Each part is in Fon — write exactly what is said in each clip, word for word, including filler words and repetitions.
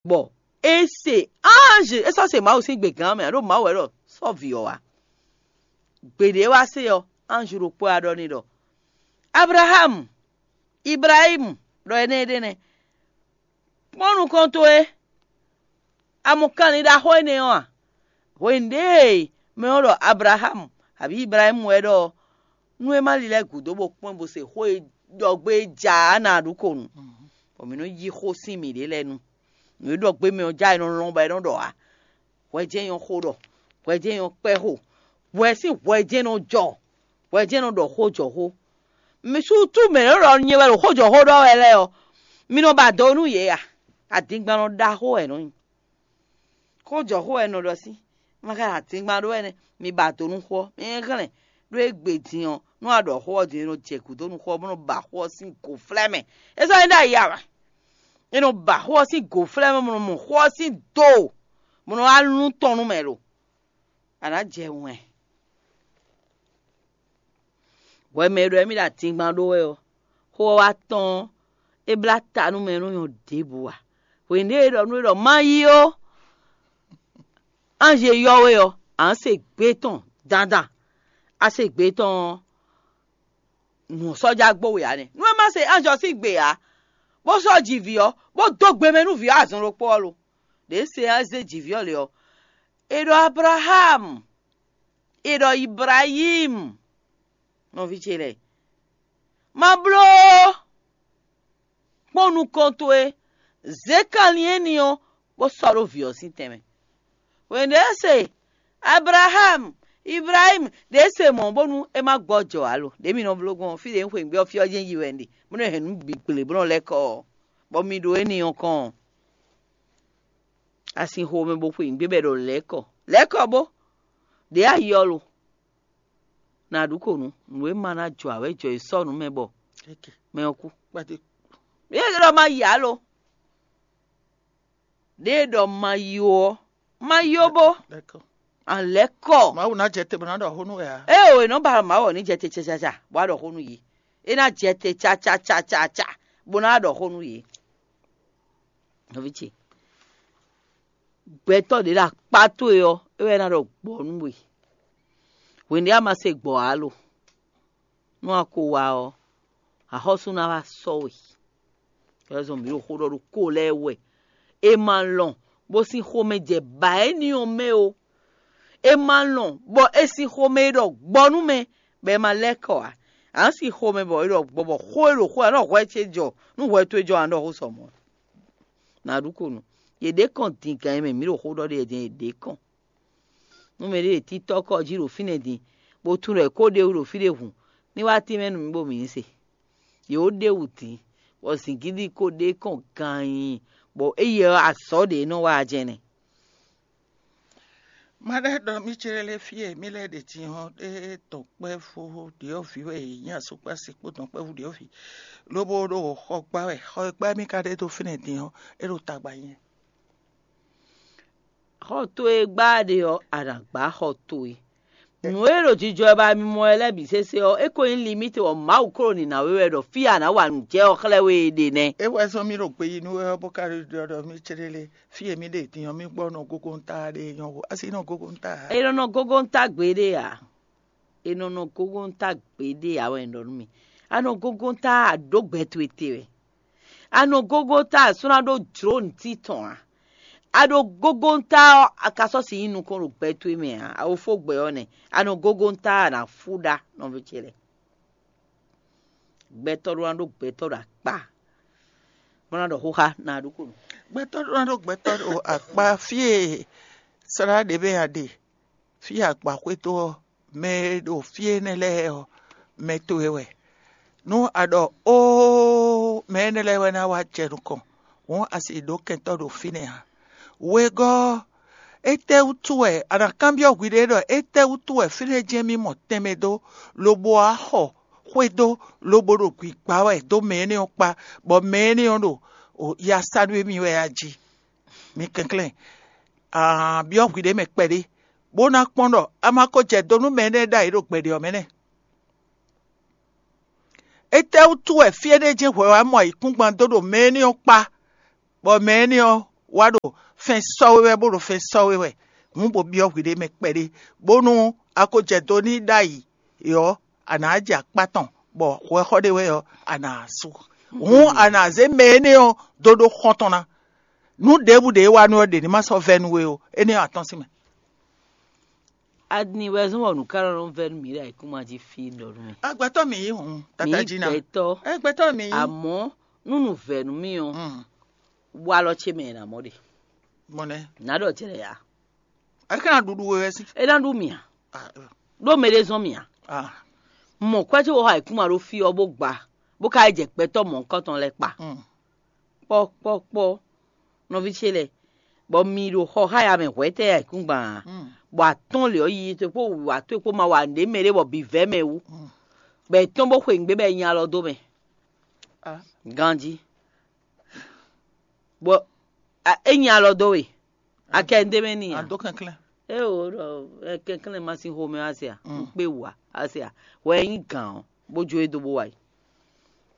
Bɔ é se anji, é sɔ́ se Mawu sín gbe gǎn mɛ, ɖó Mawu wɛ ɖɔ sɔ́ vǐ ɔ́ wá. Gbeɖé wá se ɔ́, anji ɖokpó wá ɖɔ n'i ɖɔ: "Ablaxámu, Iblahímu, ɖɔ énɛ́ ɖé nɛ́. Kpɔ́n nukɔn towe, a mɔ kanlin ɖaxó énɛ́ ɔ́ a? Hwenu ɖěe mɛ ɔ́ ɖɔ Ablaxámu abǐ Iblahímu wɛ ɖɔ ɔ́, nú é má lilɛ́ gǔdo bó kpɔ́n bó se xó e ɖɔ gbé é ja ǎ ná ɖu ko nu, bɔ mǐ nɔ́ yí xó sín mǐɖée lɛ́ɛ nu. Nǔ e ɖɔ gbé mɛ ɔ́ ja è nɔ lɔn bɔ è nɔ ɖɔ ǎ. Hwɛ jɛ́n nyɔ́ xó ɖɔ, hwɛ jɛ́n nyɔ́ kpɛ́ xo, hwɛ sín hwɛ jɛ́n nɔ jɔ, hwɛ jɛ́n nɔ ɖɔ xó jɔ xó. Mi sú tú mɛ nɔ ɖɔ nyɛ wɛ ɖo xó jɔ xó ɖɔ wɛ lɛ́ɛ ɔ́, mi nɔ ba do nú yě a? Adingban nɔ ɖaxó wɛ nɔ nyi. Xó jɔ xó wɛ nɔ ɖɔ sín, ma ka adingban ɖó wɛ nɛ́, mi ba do nú xó ɔ́, mi hɛn hɛn ɖó égbé din ɔ́, nú a ɖɔ xó ɔ́ din, é nɔ jɛ gǔdo nú xó ɔ́, bó nɔ ba xó ɔ́ sín gǒflɛ́ mɛ. É sɔ́ nyí ɖ'ayǐ ǎ wɛ? É nɔ ba xó ɔ́ sín gǒflɛ́ mɛ, bó nɔ mɔ xó ɔ́ sín do, bó nɔ wá lún tɔn nú mɛ lo. A nǎ jɛ wɛn. Hwɛ mɛ e ɖɔ émí ɖo adingban ɖó wɛ ɔ́, xó ɔ́ wá tɔ́n ɔ́, é blá ta nú mɛ e nɔ nyɔ́ ɖěbǔ ǎ. Hwenu ɖé e ɖɔ nú é ɖɔ: "Má yí ó, anji e ylɔ́ we ɔ́, a nǎ se gbé tɔn dandan. A se gbé tɔn ɔ́, nǔ ɔ́ sɔ́ já gbo we ǎ nɛ́. Nú é má se anji ɔ́ sín gbe ǎ, bó sɔ́ ji vǐ ɔ́, bó dó gbe mɛ nú vǐ ɔ́ azɔn ɖokpó ɔ́ lo. Ɖě se ɔ́ zé ji vǐ ɔ́ lě ɔ́, è ɖɔ Ablaxámu, è ɖɔ Iblahímu, nɔví ce lɛ́ɛ, ma bló ó. Kpɔ́n nukɔn towe, zě kanlin éní ɔ́, bó sɔ́ ɖó vǐ ɔ́ sín tɛnmɛ." Hwenu e é se Ablaxámu, Iblahímu ɖě se mɔ̌ bónú é má gbɔ jɔ ǎ lo. Ɖě mi nɔ bló gbɔn ɔ́, fí ɖě un xweyǐgbe ɔ́, fí ɔ́ jɛ́n yi wɛ un ɖe, bó nɔ́ hɛn nǔ bǐ gble bó nɔ́ lɛ́ kɔ ɔ́, bɔ mi ɖo éní ɔ́ kɔn ɔ́, a sin xomɛ bó xweyǐgbe bɔ è ɖɔ lɛ̌ kɔ. Lɛ̌ kɔ bó, ɖě a yi ɔ́ lo. Nǎ ɖu ko nǔ, nǔ e ma ná jɔ ǎ wɛ jɔ e sɔ́ nǔ mɛ bɔ mɛ ɔ́ kú. Kpɛtɛ. Yě ɖɔ ma yi ǎ lo. Ɖěe ɖɔ ma yi ó ɔ́, ma yi ó bó. D'accord. A lɛ̌ kɔ. Mawu ná jɛ te bó ná ɖɔ xó nú wɛ ǎ. Ée o, è nɔ ba Mawu ɔ́ ní jɛ te cacaca, bó wá ɖɔ xó nú yě. É ná jɛ te cacacacaca, bó ná wá ɖɔ xó nú yě. Nɔví ce, gbɛtɔ́ ɖě ɖo akpá towe ɔ́, é wɛ ná ɖɔ gbɔ̌ nú we. Hwenu ɖě a ma se gbɔ̌ ǎ lo. Nú a ko wá ɔ́, axɔ́sú ná wá sɔ́ we. Ɛlɛzɔn mǐ ɖo xó ɖɔ ɖo ko lɛ́ɛ wɛ. È ma lɔn bó sín xomɛ jɛ bǎ éní ɔ́ mɛ ó. È ma lɔn bɔ è sin xomɛ e ɖɔ gbɔ nú mɛ, bɔ è ma lɛ́ kɔ ǎ. A nǎ sin xomɛ bɔ è ɖɔ gbɔ bɔ xó e ɖo xó ɔ́, a nɔ hwɛ ce jɔ, nú hwɛ towe jɔ, a nɔ ɖɔ xó sɔ mɔ̌. Nǎ ɖu ko nú yě ɖě kɔn din gan e mɛ mǐ ɖo xó ɖɔ ɖe din, yě ɖě kɔn. Nú mɛɖé ɖe títɔ́ kɔ jí ɖo fínɛ́ din, bó tunwun ɖɔ è ko ɖ'é wú ɖo fí ɖé hǔn, ní wá tínmɛ nú mì bó mǐ ní se. Yě wó ɖ'é wú din, bɔ zǐngídi ko ɖ'é kɔn ganyin, bɔ éyɛ́ ɔ́, azɔ̌ ɖě nɔ wa jɛnɛ. Má ɖɛ́ ɖɔ mì céɖélé fí e mì lɛ́ɛ ɖe din ɔ́, é dɔn kpɛ́vú ɖyɔ̌vǐ wɛ è nyí asúkpási kpó dɔn kpɛ́vú ɖyɔ̌vǐ, lobo ɖo xɔ gbá wɛ. Xɔ e gbá mì ka ɖe dó fínɛ́ din ɔ́, é ɖo tagba nyɛ. Xɔ towe gbá ɖe ɔ́, a nǎ gbá xɔ towe. Nǔ e ɖo jijɔ wɛ ba mi mɔ wɛ lɛ́ɛ bǐ sésé ɔ́, é ko nyí limíte bɔ Mawu klo nǐ ná we wɛ ɖɔ fí e a nǎ wa nǔ jɛ ɔ́ xlɛ́ we e ɖe nɛ́. É wɛ zɔ́n mì ɖo gbe yi nú we ɔ́, bó ka ɖɔ ɖɔ mì céɖélé fí e mì ɖe din ɔ́, mì gbɔ nɔ gógóntá ɖe nyɔ́ hu, asi nɔ gógóntá ǎ. É nɔ nɔ gógóntá gbeɖé ǎ. È nɔ nɔ gógóntá gbeɖé ǎ wɛ un ɖɔ nú mi. A nɔ gógóntá a ɖǒ gbɛ towe te wɛ. A nɔ gógóntá a sɔ́ ná ɖó jlǒ nǔtí tɔn ǎ. A ɖo gógóntá ɔ́, a ka sɔ́ si nyí nukɔn ɖo gbɛ towe mɛ ǎ. A wo fó gbɛ ɔ́ nɛ́. A nɔ gógóntá a nǎ fú ɖá nɔví ce lɛ́ɛ. Gbɛtɔ́ ɖó ná ɖó gbɛtɔ́ ɖo akpá, bó ná ɖɔ xóxá ná ɖó ko nú. Gbɛtɔ́ ɖó ná ɖó gbɛtɔ́ ɖo akpá fí e slá ɖě mɛ a ɖe, fí e agba xwé dó ɔ́, mɛ e ɖo fí énɛ́ lɛ́ɛ ɔ́, mɛ towe wɛ. Nú a ɖɔ óó, mɛ énɛ́ lɛ́ɛ wɛ ná wá jɛ nukɔn, hǔn a si ɖǒ kɛntɔ́ ɖo fínɛ́ ǎ. Wegɔ́ ɔ́, étɛ́wútu wɛ a nǎ kanbyɔ́ hwiɖée ɖɔ étɛ́wútu wɛ fínɛ́ jɛ́n mì mɔ tɛnmɛ dó, lobo wá xɔ xwé dó, lobo ɖo gbǐgbá wɛ dó mɛ énɛ́ ɔ́ kpá, bɔ mɛ énɛ́ ɔ́ ɖo ya sa nú émí wɛ a jí? Mi kɛnklɛ́n, a byɔ́ hwiɖée mɛ kpɛɖé, bó ná kpɔ́n ɖɔ a ma ko jɛ do nú mɛ énɛ́ ɖ'ayǐ ɖo gbɛɖe ɔ́ mɛ nɛ́. Étɛ́wútu wɛ fí énɛ́ jɛ́n hwɛ wá mɔ ayǐkúngban dó ɖo mɛ énɛ́ ɔ́ kpá, bɔ mɛ énɛ́ ɔ́ wá ɖo fɛn sɔ́ we wɛ, bó ɖo fɛn sɔ́ we wɛ, hǔn bó byɔ́ hwiɖée mɛ kpɛɖé, bónú a ko jɛ do n'i ɖ'ayǐ é ɔ́, a nǎ jɛ akpá tɔn, bɔ hwɛxɔ ɖé wɛ ɔ́, a nǎ sú. Hǔn a nǎ zé mɛ énɛ́ ɔ́ dó ɖó xɔ́n tɔn ná. Nǔ ɖěbǔ ɖě e wa nú ɔ́ ɖě ní ma sɔ́ vɛ́ nú we ó; énɛ́ ɔ́, a tɔ́n sín mɛ. Adi wɛ zɔ́n bɔ nǔ ká nɔ vɛ́ nú mǐ ɖo ayǐkúngban jí fí ɖɔ nú mì. Agbɛtɔ́ mi yí hǔn, tata jí ná. Gbɛtɔ́. Agbɛtɔ́ mi yí. Àmọ́ nú nǔ vɛ́ nú mì ɔ́, wá lɔ ce mɛ è nǎ mɔ ɖe. Mɔnɛ. Nǎ ɖɔ jlɛ ya. Ɛ ká ná ɖuɖu we wɛ sí. É ná ɖú mì a? Ɖó mɛ ɖé zɔ́n mì a? Mɔ kwɛ́ ce wɔ ayǐkúngban ɖó fí ɔ́ bó gba, bó ka yi jɛ gbɛtɔ́ mɔ̌hunkɔtɔn lɛ́ɛ kpa. Kpɔ́kpɔ́kpɔ́, nɔví ce lɛ́ɛ, bɔ mi ɖo xɔ xá ya mɛ hwɛ̌tɛ́ ayǐkúngban a? Bɔ atɔ́n lě ɔ́ yiyi towe kpó wǔwá towe kpó ma wa nǔɖé mɛ ɖé bɔ bǐ vɛ́ mɛ wú, bɔ è tɔ́n bó xwe nǔgbé bɔ è nyi alɔ dó mɛ ganjí, bɔ é nyi alɔ dó we, a kɛ nǔɖé mɛ n'i a? Adó kɛnklɛ́n. Éeǒ ɖɔ kɛnklɛ́n ma sín xomɛ wá se a? Un kpé wǔ a? A se a? Hwɛ e nyí gǎn ɔ́, bó jó e dó bó wá yi.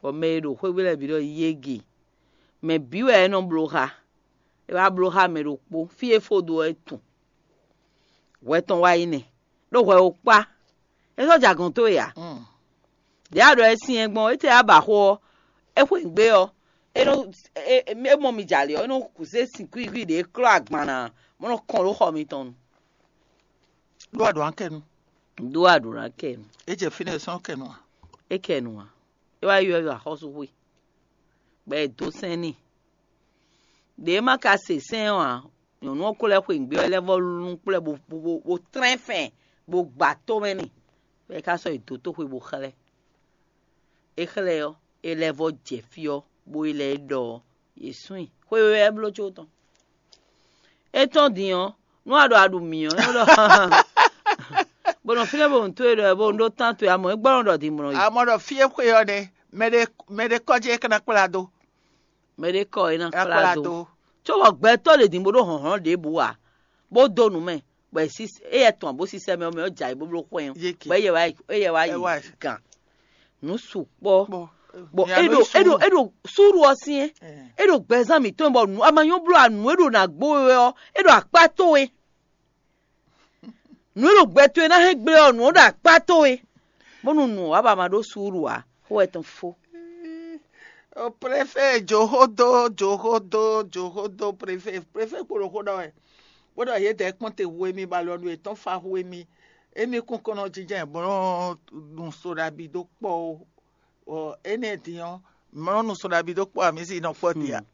Bɔ mɛ e ɖo xwé gbe lɛ́ɛ bǐ ɖɔ yége, mɛ bǐ wɛ é nɔ bló xá. É wá bló xá mɛ ɖokpó, fí e fó dó ɔ́ é tun. Hwɛ tɔn wá yi nɛ, ɖó hwɛ o kpá. É sɔ́ jɛ agɔ̌n towe ǎ. Ɖě a ɖɔ é syɛ́n gbɔn, étɛ́ a ba xó ɔ́, é xwe nǔgbé ɔ́, é nɔ é mɔ mi jɛ ali ɔ́, é nɔ kú zé sin kwígwí ɖě klɔ́ agban ná, bó nɔ kɔn ɖó xɔ mitɔn nu. Ɖó a ɖǒ ná kɛ nu. Ɖó a ɖǒ ná kɛ nu. É jɛ fínɛ́ sɔ́ kɛ nu a? É kɛ nu a? É wá ylɔ́ axɔ́súxwe, bɔ è dǒ sɛn n'i. Ɖě é ma ka se sɛn ɔ́ ǎ, nyɔ̌nu ɔ́ ko lɛ́ xwe nǔgbé ɔ́, é lɛ́ vɔ́ lún kplɔ́ ɛ bó bó bó tlɛ́n fɛn, bó gba tó mɛ n'i, bɔ é ka sɔ́ yi dǒ toxwe bó xlɛ́. É xlɛ́ ɔ́, é lɛ́ vɔ́ jɛ fí ɔ́, bó yi lɛ́ ɖɔ ɔ́, yě sún i. Xwe wɛ é bló có tɔn. É tɔ́n din ɔ́, nú a ɖo a ɖu mǐ ɔ́, é nɔ ɖɔ bó nɔ fínɛ́ bó nǔ towe ɖɔ bó nǔ ɖó tán towe, amɔ̌ é gbɔ́ nɔ ɖɔ din mlɔ yi. Amɔ ɖɔ fí e xwe ɔ́ nɛ, mɛɖé mɛɖé kɔ́ jí é ka ná kplá dó. Mɛɖé kɔ é ná kplá dó. Có bɔ gbɛtɔ́ lě din bó ɖó hlɔ̌nhlɔ́n ɖěbǔ ǎ, bó dó nǔ mɛ, bɔ é yɛ tɔn bó sísɛ mɛ ɔ́ mɛ ɔ́ jɛ ayǐ bó bló xwɛ́n ɔ́, bɔ é yɛ wá yi gǎn. Nǔ sukpɔ́. Bɔ é ɖo é ɖo é ɖo súɖu ɔ́ syɛ́n. É ɖo gbɛzán mǐtɔn bɔ nǔ a ma nyɔ́ bló a nǔ e ɖo nǎ gbó we wɛ ɔ́, é ɖo akpá towe. Nǔ e ɖo gbɛ towe ná hɛn gblé ɔ́, nǔ ɔ́ ɖo akpá towe. Bónú nǔ ɔ́ ba ma ɖó súɖu ǎ, xó wɛ tɔn fó. Préfé jǒxódó jǒxódó jǒxódó préfé préfé kpo ɖo xó ɖɔ wɛ, bó ɖɔ yědɛɛ kpɔ́n te hu emi bɔ alɔ nú yětɔn fa hu emi. Emi kún kɔn nɔ jínjɔ́n bó nɔ nu so ɖabi dó kpɔ́ ó. Énɛ́ din ɔ́, mlɔ́ nu so ɖabi dó kpɔ́ amǐ si nɔ kpɔ́ dia.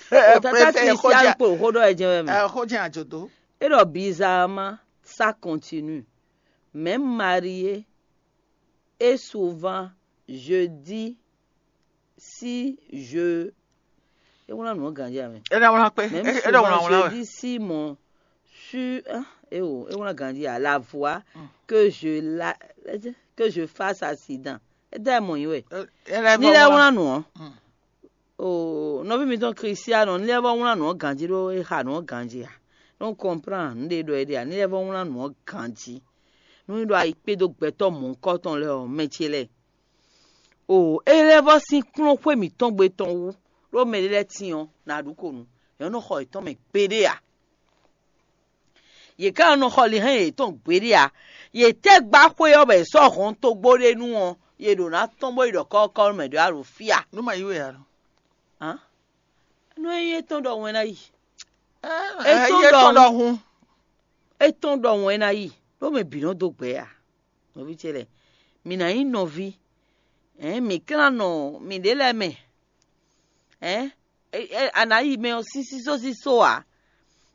Tata Kristian kpo xó ɖɔ ɛ jɛ́n wɛ mɛ. Xó jɛ́n àjò dó. É ɖɔ bizarrement, ça continue. Même marié, et souvent, je dis si je. É wlán nǔ ɔ́ ganjí amɛ. É ɖɔ wlán kpé. Même É ɖɔ wlán souvent, wlán je wɛ. Dis si mon sur, ah, eh oh, é wlán ganjí à la voix que je la que je fasse accident. É dá ɛ mɔ yín wɛ. É ɖɔ Ní lɛ́ wlán. Wlán nǔ ɔ́. O nɔví mitɔn Kristiano, ní lɛ́ vɔ́ wlán nǔ ɔ́ ganjí ɖó é xa nǔ ɔ́ ganjí a? Nú kɔnplán nǔ ɖé ɖɔ é ɖe a? Ní lɛ́ vɔ́ wlán nǔ ɔ́ ganjí. Nú é ɖo ayi kpé dó gbɛtɔ́ mɔ̌hunkɔtɔn lɛ́ɛ ɔ́, mɛ ce lɛ́ɛ. O é lɛ́ vɔ́ sín kplɔ́n xwé mǐtɔn gbe tɔn wú, ɖó mɛ ɖé lɛ́ɛ tín ɔ́, nǎ ɖu ko nǔ. Yě nɔ xɔ yětɔn mɛ gbeɖé a? Yě ká nɔ xɔ lihɛn yětɔn gbeɖé a? Yě tɛ́ gbá xwé ɔ́ bɔ yě sɔ́ hɔn togbó ɖé nu ɔ́, yě ɖǒ ná tɔ́n bó yi ɖɔ kɔ́kɔ́ mɛ ɖé wá ɖo fí a? Nú ma yí we ǎ. Hán? Nú é nyí étɔn ɖɔ wɛn ná yi. Ɛ yí étɔn ɖɔ hun. Étɔn ɖɔ wɛn ná yi, ɖó mɛ bǐ nɔ dó gbɛ a? Nɔví ce lɛ́ɛ, mǐ ná nyí nɔví. Ɛ̌n, mǐ klán nɔ mǐɖée lɛ́ɛ mɛ. Ɛ̌n, a nǎ yi mɛ ɔ́ sísísó sísó ǎ.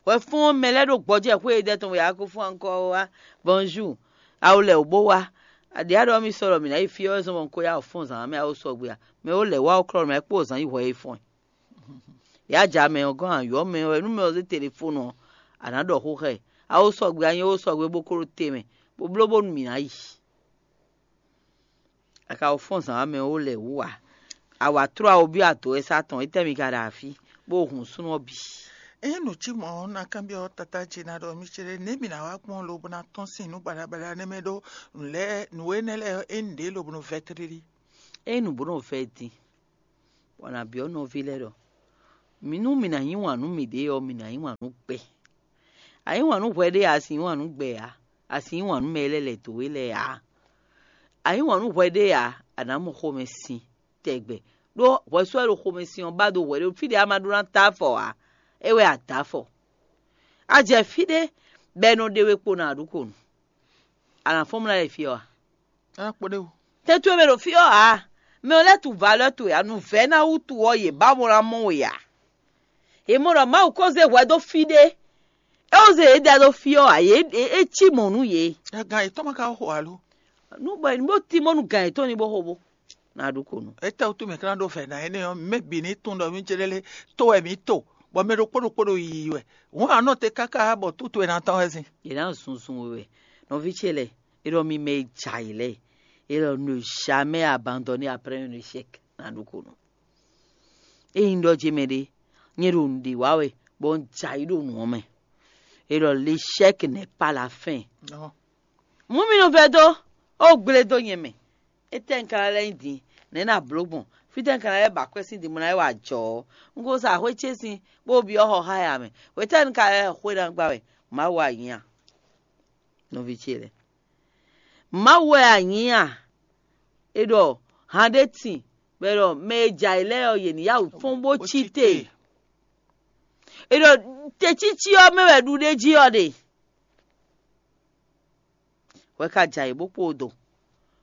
Hwɛfɔ́n mɛ lɛ́ɛ ɖo gbɔjɛ́ xwé e dɛ tɔn wɛ a ko fún ankɔ wá. Bonjour. Awo lɛ wǒ bó wá. Aɖě a ɖɔ mì sɔ́ ɖɔ mǐ ná yi fí ɔ́ wɛ zɔn bɔ un ko yá wǔ fɔ́n zǎn mɛ awo sɔgbe a? Mɛ ó lɛ̌ wá ó klɔ́ mɛ é kpó zǎn yi hwɛ e fɔ́n ɛ. Yǎ ja mɛ ɔ́ gɔ́n ayɔ̌ mɛ ɔ́, nú mɛ ɔ́ zé telefónu ɔ́, a nǎ ɖɔ xó xá ɛ. Awo sɔgbe a nyɛ ó sɔgbe bó kó ɖó te mɛ, bó bló bónú mǐ ná yi. A ka wɔ fɔ́n zǎn wá mɛ ó lɛ wú ǎ. A wǎ tló awo byɔ́ ado wɛ sá tɔn, étɛ́ mi ka ɖo afí, bó hun súnnu ɔ́ bǐ? Ényí nǔ cí mɔ̌ ɔ́, un ná kanbyɔ́ Tata ce ná ɖɔ mì céɖé nɛ̌ mì ná wá gbɔn lobo ná tɔ́n sín nǔ baɖabaɖa nɛ́ mɛ ɖó nǔ lɛ́ɛ nǔ énɛ́ lɛ́ɛ ɔ́, ényí ɖě lobo nɔ vɛ́ tlílí. Ényí nǔ bó nɔ vɛ́ din, bɔ nǎ byɔ́ nɔví lɛ́ɛ ɖɔ Mǐ nú mǐ ná yí wǎn nú mǐɖée ɔ́, mǐ ná yí wǎn nú gbɛ. A yí wǎn nú hwɛ ɖé ǎ, a sǐ yí wǎn nú gbɛ ǎ, a sǐ yí wǎn nú mɛ e lɛ́ lɛ̌ dó we lɛ́ɛ ǎ. A yí wǎn nú hwɛ ɖé ǎ, a nǎ mɔ xomɛ sin tɛgbɛ. Ɖó hwɛsú wɛ ɖo xomɛ sin ɔ́ ba dó hwɛ ɖé fí ɖě a ma ɖó ná dó afɔ ǎ, é wɛ a dǒ afɔ. A jɛ fí ɖé bɔ è nɔ ɖe we kpo nɔ aɖǔkonu. A nǎ fɔ́n mlá ɖe fí ɔ́ a? Á kpo ɖé o. Tɛn towe mɛ ɖo fí ɔ́ ǎ. Mɛ ɔ́ lɛ́ tunwun valeur towe ǎ. Nǔvɛ́ná wútu ɔ́, yě ba mɔ ná mɔ we ǎ. Yě mɔ ɖɔ Mawu ko zé hwɛ dó fí ɖé. É wú zé yě da dó fí ɔ́ ǎ. Yě é cí mɔ̌ nú yě. Gan yětɔn ma ka xo alo? Nú bɔ nǔ bó tímɔ́ nú gan yětɔn ní bó xo bó. Ná ɖu ko nú. Étɛ́ wútu mǐ ka ná ɖó vɛ̌ ná énɛ́ ɔ́, mǐ mɛ bǐ ní tunwun ɖɔ mí ce lɛ́ lé tó wɛ mǐ to, bɔ mɛ ɖokpó ɖokpó ɖo yiyi wɛ. Hǔn a nɔ te káká bɔ tǔ towe ná tɔ́n wɛ sín. Yě ná zunzun we wɛ. Nɔví ce lɛ́ɛ, é ɖɔ mi mɛ e jɛ ayǐ lɛ́ɛ, é ɖɔ ne jamais abandonner après un échec. Ná ɖu ko nú. Ényí un ɖɔ jé mɛ ɖé, nyɛ ɖo nǔɖé wa wɛ, bɔ un jɛ ayǐ ɖo nǔ ɔ́ mɛ. É ɖɔ l'échec n'est pas la fin. Mǔ mì nɔ vɛ́ dó, ó gblé dó nyɛ mɛ. Étɛ́ un ka ná lɛ́ nyi din? Nɛ̌ ná bló gbɔn? Fítɛ́ un ka ná lɛ́ ba akwɛ́ sín din bó ná lɛ́ wá jɔ ɔ́? Un ko sa xwé ce sín, bó byɔ́ xɔ xá ya mɛ. Hwetɛ́nu un ka lɛ́ xwé ná gbá wɛ? Mawu wɛ a nyí a? Nɔví ce lɛ́ɛ, Mawu wɛ a nyǐ a? È ɖɔ han ɖé tin, bɔ è ɖɔ mɛ e jɛ ayǐ lɛ́ɛ ɔ́, yě ní yá wǔ fɔ́n bó cí te. È ɖɔ tecící ɔ́ mɛ wɛ ɖuɖéjí ɔ́ ɖe. Hwɛ ka jɛ ayǐ bó kpo do.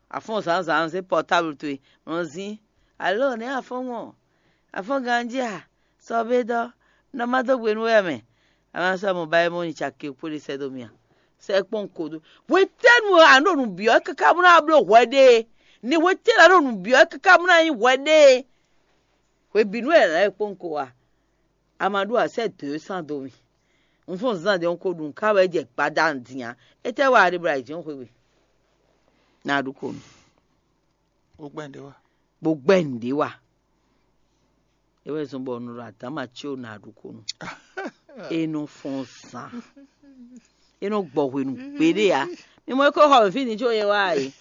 A fɔ́n zǎnzǎn zé pɔtáblu towe, nɔ zín. Alǒ nɛ̌ a fɔ́n mɔ? A fɔ́n ganjí a? Sɔ bé dɔ́, nɔ má dó gbe nú we wɛ mɛ. A ma sɔ́ mɔ ba é mɔ nyi caki kpó ɖé sɛ́ dó mì a? Sɛ́ kpɔ́n ko dó. Hwetɛ́nu a nɔ ɖo nǔ byɔ́ káká bó ná bló hwɛ ɖé? Ni hwetɛ́nu a nɔ ɖo nǔ byɔ́ káká bó ná nyí hwɛ ɖé? Hwebǐnu wɛ è nǎ lɛ́ kpɔ́n ko a? A ma ɖó a sɛ́ dǒ e sán dó mì. Un fɔ́n zán ɖě un ko ɖu nǔ ká wɛ jɛ gbada un din ǎ. Étɛ́ wɛ a ɖe bɔ a yi jǐ xwé gbe? Ná a ɖu ko nú. Bó gbɛ́ nǔɖé wa. Bó gbɛ́ nǔɖé wa. É wɛ zɔ́n bɔ un ɖo adǎma ce ná a ɖu ko nú. É nɔ fɔ́n zán. É nɔ gbɔ hwenu gbeɖé ǎ. Mi mɔ é ko xɔ mɛ fí din có nyɛ wá a é.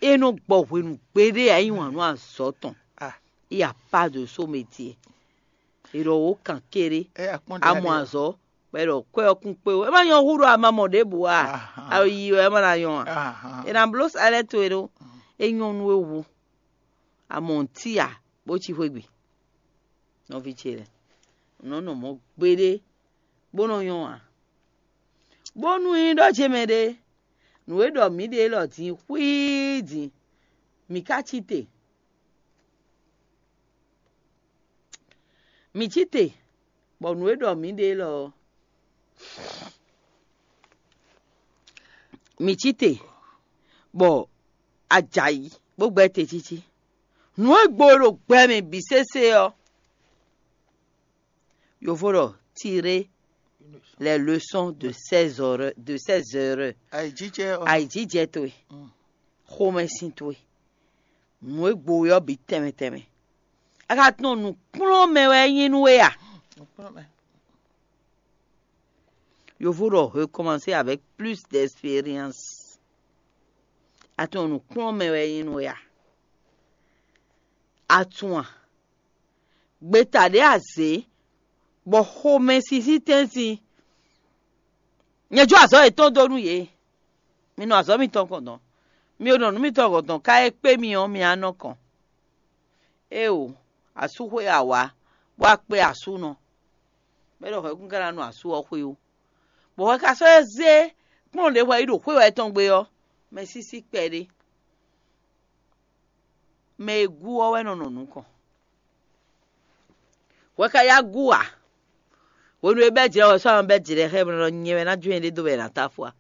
É nɔ gbɔ hwenu gbeɖé ǎ, yí wǎn nú azɔ̌ tɔn. Il y a pas de saut métier. È ɖɔ wǒ kan kéré. A mɔ azɔ̌, bɔ è ɖɔ kwɛ́ ɔ́ kún kpé ó. É má nyɔ́ hú ɖɔ a ma mɔ ɖěbǔ a? A yi wɛ é má ná nyɔ́ a? È nǎ bló sa lɛ́ɛ towe ɖó. É nyɔ́ nú we wu. A mɔ nǔtí a, bó cí xwé gbe. Nɔví ce lɛ́ɛ, nǔ nɔ mɔ̌ gbeɖé, bó nɔ nyɔ́ ǎ. Bónú nyí ɖɔ ce mɛ ɖé, nǔ e ɖɔ mǐ ɖe élɔ́ din xwíí din, mǐ ka cí te. Mǐ cí te, bɔ nǔ e ɖɔ mǐ ɖe élɔ́ ɔ́, mǐ cí te, bɔ a jɛ ayǐ, bó gbɛ́ te cící. Nǔ e gbo e ɖo gbɛ mɛ bǐ sésé ɔ́, Yovo ɖɔ tirer les leçons de ses erreurs, de ses erreurs. Ayǐjijɛ ɔ́. Ayǐjijɛ towe, xomɛsin towe, nǔ e gbo we ɔ́ bǐ tɛnmɛ tɛnmɛ. A ka tunɔ nǔkplɔ́nmɛ wɛ é nyí nú we a? Yovo ɖɔ recommencer avec plus d'expérience. A tunɔ nǔkplɔ́nmɛ wɛ é nyí nú we a? A tunwun a? Gbeta ɖě a zě, bɔ xomɛsin sín tɛ́ntin. Nyɛ jó azɔ̌ yětɔn dó nú yě. Mi nɔ azɔ̌ mitɔn kɔn dɔn. Mi e nɔ nǔ mitɔn kɔn dɔn ká é kpé mi ɔ́, mi á nɔ kɔn. Éeǒ, asú xwé a wǎ, bó wá kpé asúnɔ. Bɔ é ɖɔ hwɛ̌kún ka ná nɔ asú ɔ́ xwé ó. Bɔ hwɛ ka sɔ́ zé kplɔ́n ɖě hwɛ yi ɖo xwé wɛ tɔn gbe ɔ́, mɛ sísí kpɛɖé. Mɛ e gú ɔ́ wɛ nɔ nɔ nukɔn. Hwɛ ka yá gú ǎ. Hwenu e bɛ́ jlɛ̌ wɛ sɔ́ ɔ́ bɛ́ jlɛ̌ xá ɛ bɔ nɔ nyɛ wɛ ná jó nyɛɖée dó bɔ è nǎ tá fɔ a?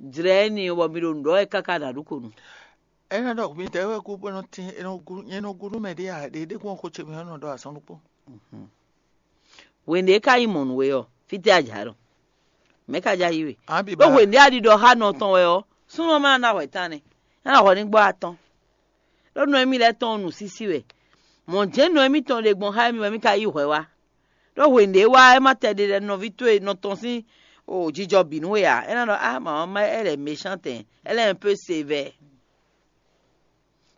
Jlɛ̌ énɛ́ ɔ́ bɔ mi ɖo nǔ ɖɔ wɛ káká ɖo aɖǔkonu. É ná ɖɔ midɛɛ wɛ gú bó nɔ tín, é nɔ gú, nyɛ nɔ gú nú mɛ ɖé ǎ, ɖě ɖé kún xo ce mɛ ɔ́ nɔ ɖɔ azɔn ɖokpó. Hwenu e é ka nyí mɔ̌ nú we ɔ́, fítɛ́ a jǎ ɖɔ? Mɛ̌ ka jǎ yí we? Ɖó hwenu e a ɖiɖɔ xá nɔ tɔn wɛ ɔ́, súnnu ɔ́ ma ná hwɛ tán nɛ́, é ná hwɛ ní gbɔ́ atɔn. Ɖó nɔ émí lɛ́ɛ tɔn ɔ́ nǔsísí wɛ. Mɔ̌ jɛ́n nɔ émítɔn ɖe gbɔn xá émí wɛ émí ka yí hwɛ wá. Ɖó hwenu ɖě wá é má tɛ ɖe lɛ́ nɔví towe nɔ tɔn sín o jijɔ bǐ nú we ǎ. É ná ɖɔ á mama má elle est méchante, elle est un peu sévère.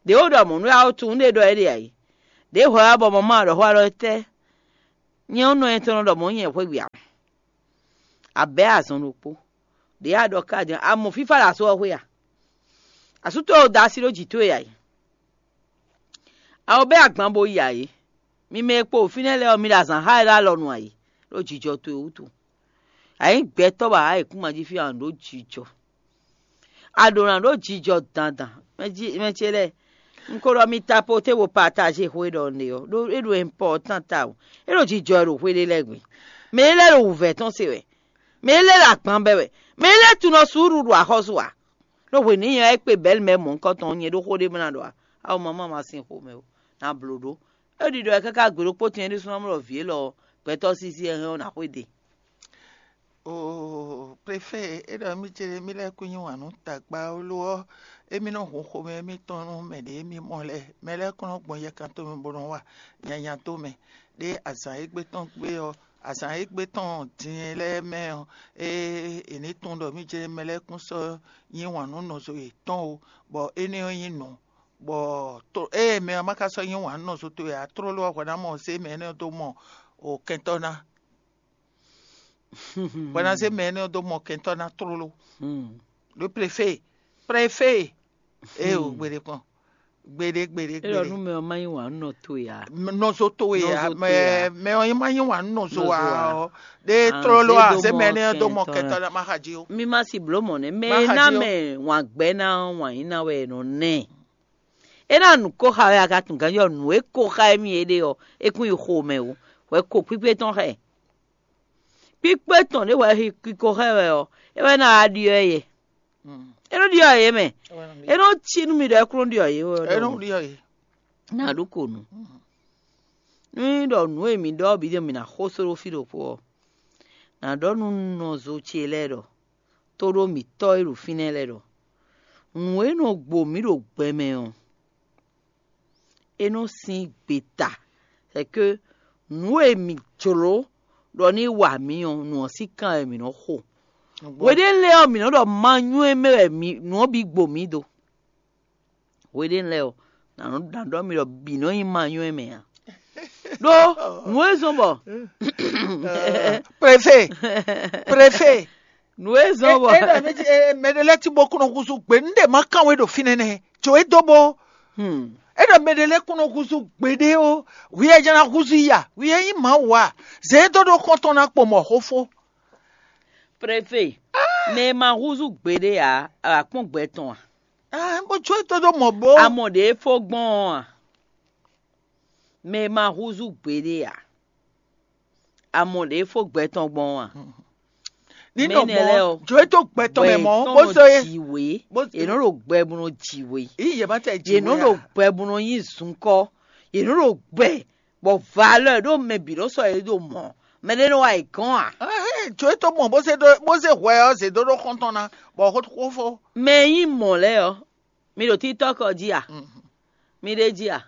Ɖě wo ɖɔ mɔ̌ nú yá ó tunwun ɖé ɖɔ é ɖe ǎ é. Ɖěe hwɛ wá bɔ mama ɖɔ xó alɔ tɛ́ Nyɛ ɔ́ nɔ nyɛ tɔn nɔ ɖɔ mɔ̌ nyɛ xwé gbe ǎ. A bɛ̌ azɔn ɖokpó. Ɖě a ɖɔ ká din, a mɔ fífá ɖo asú ɔ́ xwé a? Asú towe ɖo da así ɖó jǐ towe ǎ é. A ko bɛ́ agban bo yi ǎ é. Mi mɛ e kpo ɖo fínɛ́ lɛ́ɛ ɔ́, mi ɖo azǎn xa wɛ ɖó alɔ nu ǎ é, ɖó jijɔ towe wútu. A nyǐ gbɛtɔ́ bɔ a wǎ yěkúnma jí fí a nǎ ɖó jijɔ. A ɖǒ ná ɖó jijɔ dandan. Mɛ ce lɛ́ɛ, un ko ɖɔ mi tapoté bo pataje xwe ɖɔ un ɖe ɔ́, ɖó é ɖo important tawun. É ɖo jijɔ wɛ ɖo xwe ɖé lɛ́ɛ gbe. Mɛ é lɛ́ɛ ɖo wǔvɛ́ tɔn se wɛ. Mɛ é lɛ́ɛ ɖo agban bɛ́ wɛ. Mɛ é lɛ́ɛ tunɔ suúlu ɖo axɔ́sú ǎ. Ɖó hwenu e nyɛ wá yi kpe Bɛ̌lmɛ mɔ̌hunkɔtɔn ɔ́, nyɛ ɖó xó ɖé bó ná ɖɔ ǎ. Awu mamá ma sin xomɛ ó, ná bló ɖó. É ɖiɖɔ wɛ káká gbe ɖokpó tɛn é ɖésú ná mɔ ɖɔ vǐ élɔ́ ɔ́, gbɛtɔ́ sísí wɛ hɛn ɔ́ ná xwedó e. Oo, prefé, é ɖɔ mì ce mì lɛ́ kú nyi wǎn nú tagba ó lo ɔ́, émí nɔ hun xomɛ émítɔn nú mɛ ɖě émí mɔ lɛ́ɛ. Mɛ lɛ́ɛ kɔn nɔ gbɔn yɛkan tomɛ bó nɔ wa nyanya tomɛ. Ɖé azǎn égbé tɔn gbé ɔ́, azǎn égbé tɔn din lɛ́ɛ mɛ ɔ́, é è ní tunwun ɖɔ mì ce mɛ lɛ́ɛ kún sɔ́ nyi wǎn nú nɔzo yětɔn ó, bɔ énɛ́ ɔ́ nyí nǔ, bɔ ée mɛ ɔ́ ma ka sɔ́ nyi wǎn nú nɔzo towe ǎ, tlóló ɔ́ hwɛ ná mɔ zé mɛ énɛ́ ɔ́ dó mɔ o kɛntɔ́ ná. Hwɛ ná zé mɛ énɛ́ ɔ́ dó mɔ kɛntɔ́ ná tlóló. Ɖó prefé, prefé, éeǒ, gbeɖé kpɔn, gbeɖé, gbeɖé, É ɖɔ nú gbeɖé. Mɛ ɔ́ má nyí wǎn nɔ towe ǎ. Nɔzo towe ǎ, Nɔzo mɛ towe ǎ. Mɛ ɔ́ má nyí wǎn nɔzo ǎ Nɔzo ǎ. Ɔ́, ɖé Ǎ, tlóló zé ǎ, dó zé mɔ mɛ énɛ́ ɔ́ dó kɛntɔ́ mɔ ná. Kɛntɔ́ ná má xa jí ó. Mi ma si blǒ mɔ̌ nɛ́. Mɛ Má e xa ná jí ó. Mɛ wǎn gbɛ́ ná ɔ́, wǎn yí ná wɛ è nɔ ná ɛ. É ná nǔ ko xa wɛ a ka tunwun ganjí ɔ́, nǔ e ko xa émí é ɖe ɔ́, é kún yi xo mɛ ó. Hwɛ ko kpíkpé tɔn xá ɛ. Kpíkpé tɔn ɖě hwɛ ko xá ɛ wɛ ɔ́, é wɛ ná wá ɖyɔ́ ɛ yɛ. Mm. É nɔ ɖyɔ́ ɛ yɛ mɛ. É wɛ nɔ ɖyɔ́. É nɔ cí nú mi ɖɔ é kún nɔ ɖyɔ́ yě wɛ. É nɔ ɖɔ ɖyɔ́ yě. Ná ɖó ko nǔ. Mm. Nú nyí ɖɔ nǔ e mǐ ɖɔ ɔ́ bǐ ɖe mǐ ná xo só ɖó fí ɖokpó ɔ́, nǎ ɖɔ nú nɔzo ce lɛ́ɛ ɖɔ, tóɖó mǐtɔn e ɖo fínɛ́ lɛ́ɛ ɖɔ, nǔ e nɔ gbo mǐ ɖo gbɛ mɛ ɔ́, é nɔ sín gbeta, sɛkɛ́ nǔ e mǐ jlǒ ɖɔ ní wa mǐ ɔ́, nǔ ɔ́ sín kan wɛ mǐ nɔ xo. Hweɖé lɛ́ɛ ɔ́, mǐ nɔ ɖɔ ma nywɛ́ mɛ wɛ mǐ nǔ ɔ́ bǐ gbo mǐ do. Hweɖé lɛ́ɛ ɔ́, nǎ nɔ ɖɔ mi ɖɔ bǐ nɔ nyí ma nywɛ́ mɛ ǎ. Ɖó nǔ e zɔ́n bɔ Préfé, préfé. Nǔ e zɔ́n bɔ É ɖɔ mɛ ɖé lɛ́ɛ tí bó kún nɔ húzú gbe, un ɖe má kán we ɖo fínɛ́ nɛ́. Jǒ é dó bó. Hmm. É ɖɔ mɛ ɖé lɛ́ɛ kún nɔ húzú gbeɖé ó. Hwi e jɛ ná húzú i a? Hwi e nyí Mawu a? Zě é dó ɖó xɔ́ntɔn ná kpo mɔ xó fó. Préfé, mɛ e ma húzú gbeɖé ǎ, a wǎ kpɔ́n gbɛ tɔn a? Ah, bó jó é tó dó mɔ bó. A mɔ ɖě é fó gbɔn ɔ́ a? Mɛ e ma húzú gbeɖé ǎ, a mɔ ɖě é fó gbɛ tɔn gbɔn ɔ́ a? Ní Mɛ nɔ énɛ́ mɔ lɛ́ɛ ɔ́, jó é tó gbɛ tɔn mɛ mɔ tɔn bó nɔ sɔ é. Jǐ wě. Bó Yě nɔ ɖo gbɛ bó nɔ jǐ wě. Yí yě má tɛ jǐ Yě nɔ wé ɖo a? Gbɛ bó nɔ nyí zunkɔ́. Yě nɔ ɖo gbɛ bɔ valeur ɖó mɛ bǐ nɔ sɔ yě ɖo mɔ̌. Mɛ ɖé nɔ wa yě gɔ́n a? Ahɛn, jó é tó mɔ bó zé ɖó bó zé hwɛ ɔ́ zě dó ɖó xɔ́ntɔn ná, bɔ xó xó fó. Mɛ e nyí mɔ̌ lɛ́ɛ ɔ́, mi ɖo TikTok ɔ́ jí a? Mhm. Mi ɖ'é jí a?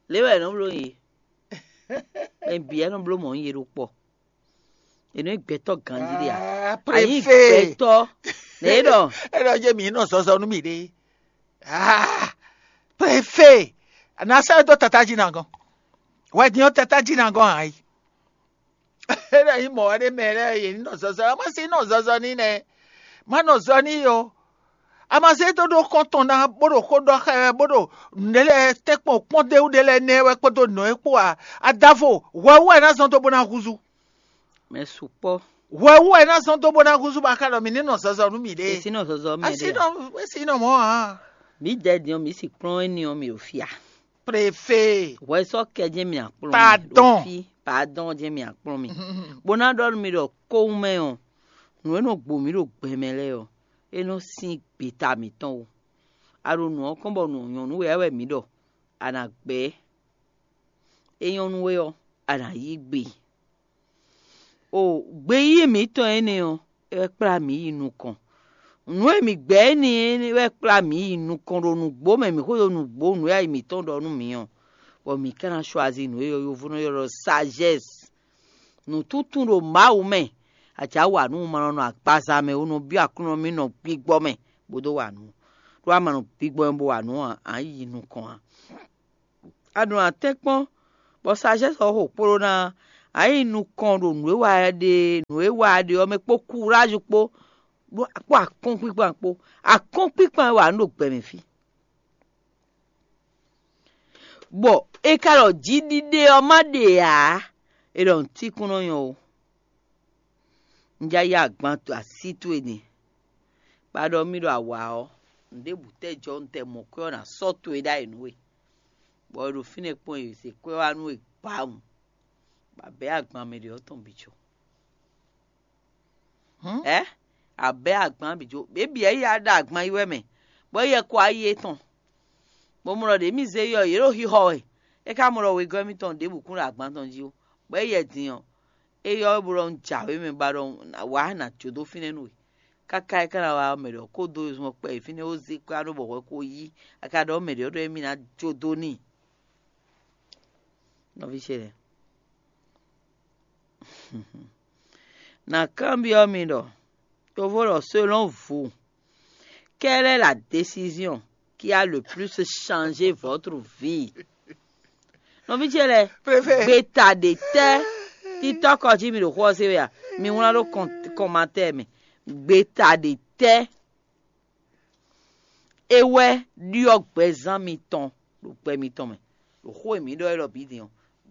Lě wɛ è nɔ bló yě. Mɛ bǐ wɛ nɔ bló mɔ̌ yě ɖo kpɔ. È nɔ nyí gbɛtɔ́ ganjí ɖé a? Ah, A nyí préfé. Gbɛtɔ́. Nɛ é ɖɔ É ɖɔ jɛ mǐ nɔ zɔzɔ nú mì ɖé. Ah, préfé. Nà sɛ dó tata jí nà gɔn. Wɛ din ɔ́ tata jí nà gɔn ǎ yi. É ɖɔ nyí mɔ̌ wɛ ɖé mɛ lɛ́ɛ yě ní nɔ zɔzɔ. Má sí nɔ zɔzɔ ní nɛ. Má nɔ zɔ ní yo. A ma zé dó ɖó xɔ́ntɔn ná bó ɖo xó ɖɔ xá ɛ wɛ bó ɖo nǔɖé lɛ́ɛ tɛ́nkpɔn kpɔ́n d'é wú ɖé lɛ́ɛ nɛ́ wɛ kpódó nǔ e kpó ǎ. Adavo, hwɛ wú wɛ é ná zɔ́n dó bó ná húzú. Mɛ sukpɔ́. Hwɛ wú wɛ é ná zɔ́n dó bó ná húzú bɔ a ka ɖɔ mǐ ní nɔ zɔzɔ nú mǐɖée. È sí nɔ zɔzɔ mɛ A sí ɖe a? Nɔ é sí nɔ mɔ̌ ǎ. Mǐ dɛdin ɔ́, mǐ si kplɔ́n éní ɔ́, mǐ ɖo fí a? Préfé. Hwɛ sɔ́ kɛ jɛ́n mì akplɔ́n mì Pardon. Ɖo fí, pardon jɛ́n mì akplɔ́n mì. Bó ná ɖɔ nú mi ɖɔ kówún mɛ ɔ́, nǔ e nɔ gbo mǐ ɖo gbɛ mɛ lɛ́ɛ ɔ́, é nɔ sín gbeta mǐtɔn ó. A ɖo nǔ ɔ́ kɔn bɔ nǔ nyɔ̌nu wɛ wɛ mǐ ɖɔ, a nǎ gbɛ́. É nyɔ́ nú we ɔ́, a nǎ yí gbe. O gbeyíyí mǐtɔn énɛ́ ɔ́, é wɛ kplá mǐ yi nukɔn. Nǔ e mǐ gbɛ́ énɛ́ é wɛ kplá mǐ yi nukɔn ɖo nǔgbó mɛ, mǐ xwedó nǔgbó nǔ e ayi mǐtɔn ɖɔ nú mǐ ɔ́, bɔ mǐ ka ná chwazi nǔ e yɔ́yɔ́vú nɔ ylɔ́ ɖɔ sagesse. Nǔtúntún ɖo Mawu mɛ, a jǎ wa nú un ma nɔ nɔ agbaza mɛ ó, nɔ byɔ́ Aklúnɔ mì nɔ gbigbɔ mɛ bó dó wa nǔ. Ɖó a ma nɔ gbigbɔ mɛ bó wa nǔ ǎ, a yi nukɔn ǎ. A ɖo nǎ tɛ́nkpɔ́n, bɔ sagesse ɔ́ xo kpló ná A yi nukɔn ɖo nǔ e wa ɖe nǔ e wa ɖe ɔ́ mɛ kpó kuráju kpó kpó akɔ́nkpíkpan kpó. Akɔ́nkpíkpan wɛ a nǔ ɖo gbɛ mɛ fí. Bɔ è ka ɖɔ jiɖiɖe ɔ́ má ɖe ǎ, è ɖɔ nǔtíkún nɔ nyɔ ó. Un já yá agban así towe din, bɔ a ɖɔ mì ɖɔ a wǎ ɔ́, nǔɖébǔ tɛ́ jɔ un tɛ mɔ kwɛ́ ɔ́ ná sɔ́ towe ɖ'ayǐ nú we, bɔ è ɖo fínɛ́ kpɔ́n è zě kwɛ́ wá nú we gbawun, bɔ a bɛ̌ agban mɛ ɖě ɔ́ tɔn bǐ jó. Ɛ, a bɛ̌ agban bǐ jó, běbǐ ɛ yí a ɖo agban yi wɛ mɛ, bɔ é yɛ kɔ ayi étɔn, bó mɔ ɖɔ ɖě mì zé yɔ yě ɖo xixɔ wɛ, é ka mɔ ɖɔ wegɔ́ mitɔn ɖěbǔ kún ɖo agban tɔn jí ó, bɔ é yɛ din ɔ́, é yɔ wɛ bó ɖɔ un jǎwe mɛ ba ɖɔ wǎ nǎ jó dó fínɛ́ nú we. Káká é ka ná wá ɔ́, mɛ ɖě ɔ́ kó dó zɔn kpɛ yi fínɛ́ ó zé kwɛ́ ɖó bɔ hwɛ ko yí, a ka ɖɔ mɛ ɖě ɔ́ ɖɔ émí ná jó dó n'i. Nɔví ce lɛ́ɛ, na kanbyɔ́ mi ɖɔ, yovo ɖɔ selon vous, quelle est la décision qui a le plus changé votre vie? Nɔví ce lɛ́ɛ, gbeta ɖe tɛ́ títɔ́kɔ jí mi ɖo xó ɔ́ se wɛ a? Mi wlán ɖó kɔn- kɔnmatɛ́ɛ mɛ. Gbeta ɖe tɛ́ é wɛ ɖyɔ́ gbɛzán mitɔn ɖo gbɛ mitɔn mɛ, ɖo xó e mǐ ɖɔ élɔ́ bǐ din ɔ́,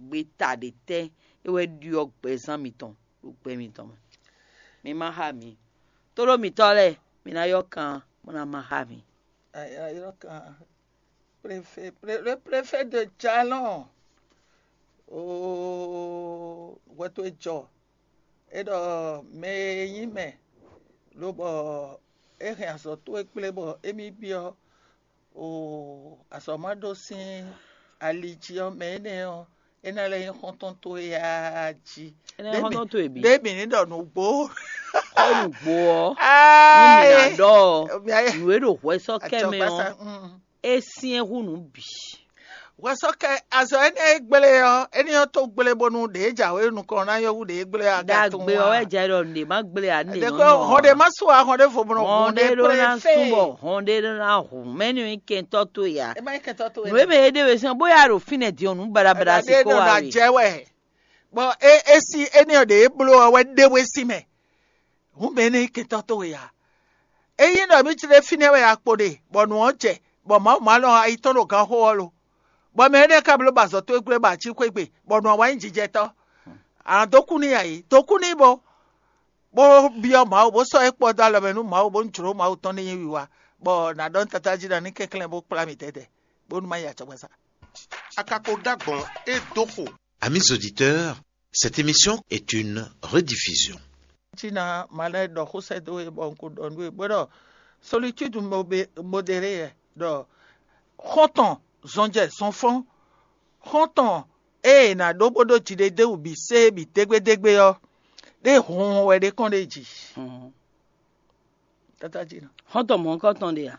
gbeta ɖe tɛ́ é wɛ ɖyɔ́ gbɛzán mitɔn ɖo gbɛ mitɔn mɛ? Mi ma xá mi. Tóɖó mitɔ́ lɛ́ɛ, mi ná yɔ́ kan bó ná ma xá mi. Ayɔ́kan préfet, pré- le préfet de Jalon. Oo, hwɛ towe jɔ. É ɖɔ mɛ e nyí mɛ, lobɔ é hɛn azɔ̌ towe kplé bɔ émí byɔ́, oo, azɔ̌ ma ɖó sín ali jí ɔ́, mɛ énɛ́ ɔ́, é ná lɛ́ nyí xɔ́ntɔn towe jí. É ná nyí xɔ́ntɔn towe bǐ. Ɖé mǐ ní ɖɔ nǔgbó. Xó nǔgbó ɔ́, nú mǐ ná ɖɔ ɔ́, nǔ e ɖo hwɛsɔ́kɛ mɛ ɔ́, é syɛ́n hú nǔ bǐ. Hwɛsɔ́kɛ azɔ̌ énɛ́ e gblé ɔ́, énɛ́ ɔ́ tó gblé bónú ɖě jǎwe nukɔn ná nyɔ́ hú ɖě gblé ɔ́. Ɖagbe ɔ́ wɛ jɛ ɖɔ nǔɖé má gblé ǎ nú ɖě kɔn hɔn ɖě má sú ǎ, hɔn ɖěvo mɔ hɔn ɖě ɖó ná sú bɔ hɔn ɖě ɖó ná hu mɛ̌ nú nyí kɛntɔ́ towe ǎ. Nǔ e mɛ é ɖe we sín ɔ́, bóyá ɖo fínɛ́ din ɔ́, nǔ baɖabaɖa si kó wá we. Jɛ wɛ. Bɔ é é sí énɛ́ ɔ́ ɖě é bló ɔ́ wɛ ɖé we sín mɛ. Hǔn mɛ énɛ́ nyí kɛntɔ́ towe ǎ. Ényí ɖɔ mǐ tlé fínɛ́ wɛ a kpo ɖe, bɔ nǔ ɔ́ jɛ, bɔ Mawu ma lɔn ayi tɔn ɖo ganxó ɔ́ lo, bɔ mɛ énɛ́ ka bló ba azɔ̌ towe gblé bɔ a cí xwé gbe, bɔ nǔ ɔ́ wá nyí jijɛtɔ́, a nǎ dó kú n'i a? Dó kú n'i bó, bó byɔ́ Mawu, bó sɔ́ é kpɔ́ dó alɔ mɛ nú Mawu, bónú jlǒ Mawu tɔn ní nyí wiwa, bɔ nǎ ɖɔ nú Tatá jí ɖɔ ní kɛnklɛ́n bó kplá mì tɛ́tɛ́, bónú má yi acɔgbasa. A ka ko ɖó agbɔ̌n e dó xo. Amis auditeurs, cette émission est une rediffusion. Tina malɛ ɖɔ xó sɛ́ dó we bɔ un ko ɖɔ nú we bó ɖɔ solitude modérée ɖɔ xɔ́ntɔn zɔnjɛ zɔnfɔ́n, xɔ́ntɔn e è nǎ ɖó bó ɖó jiɖedéwǔ bǐ sé bǐ dégbédégbé ɔ́, ɖé hunhun wɛ ɖé kɔn ɖ'é jí. Xɔ́ntɔn mɔ̌hunkɔtɔn ɖe a?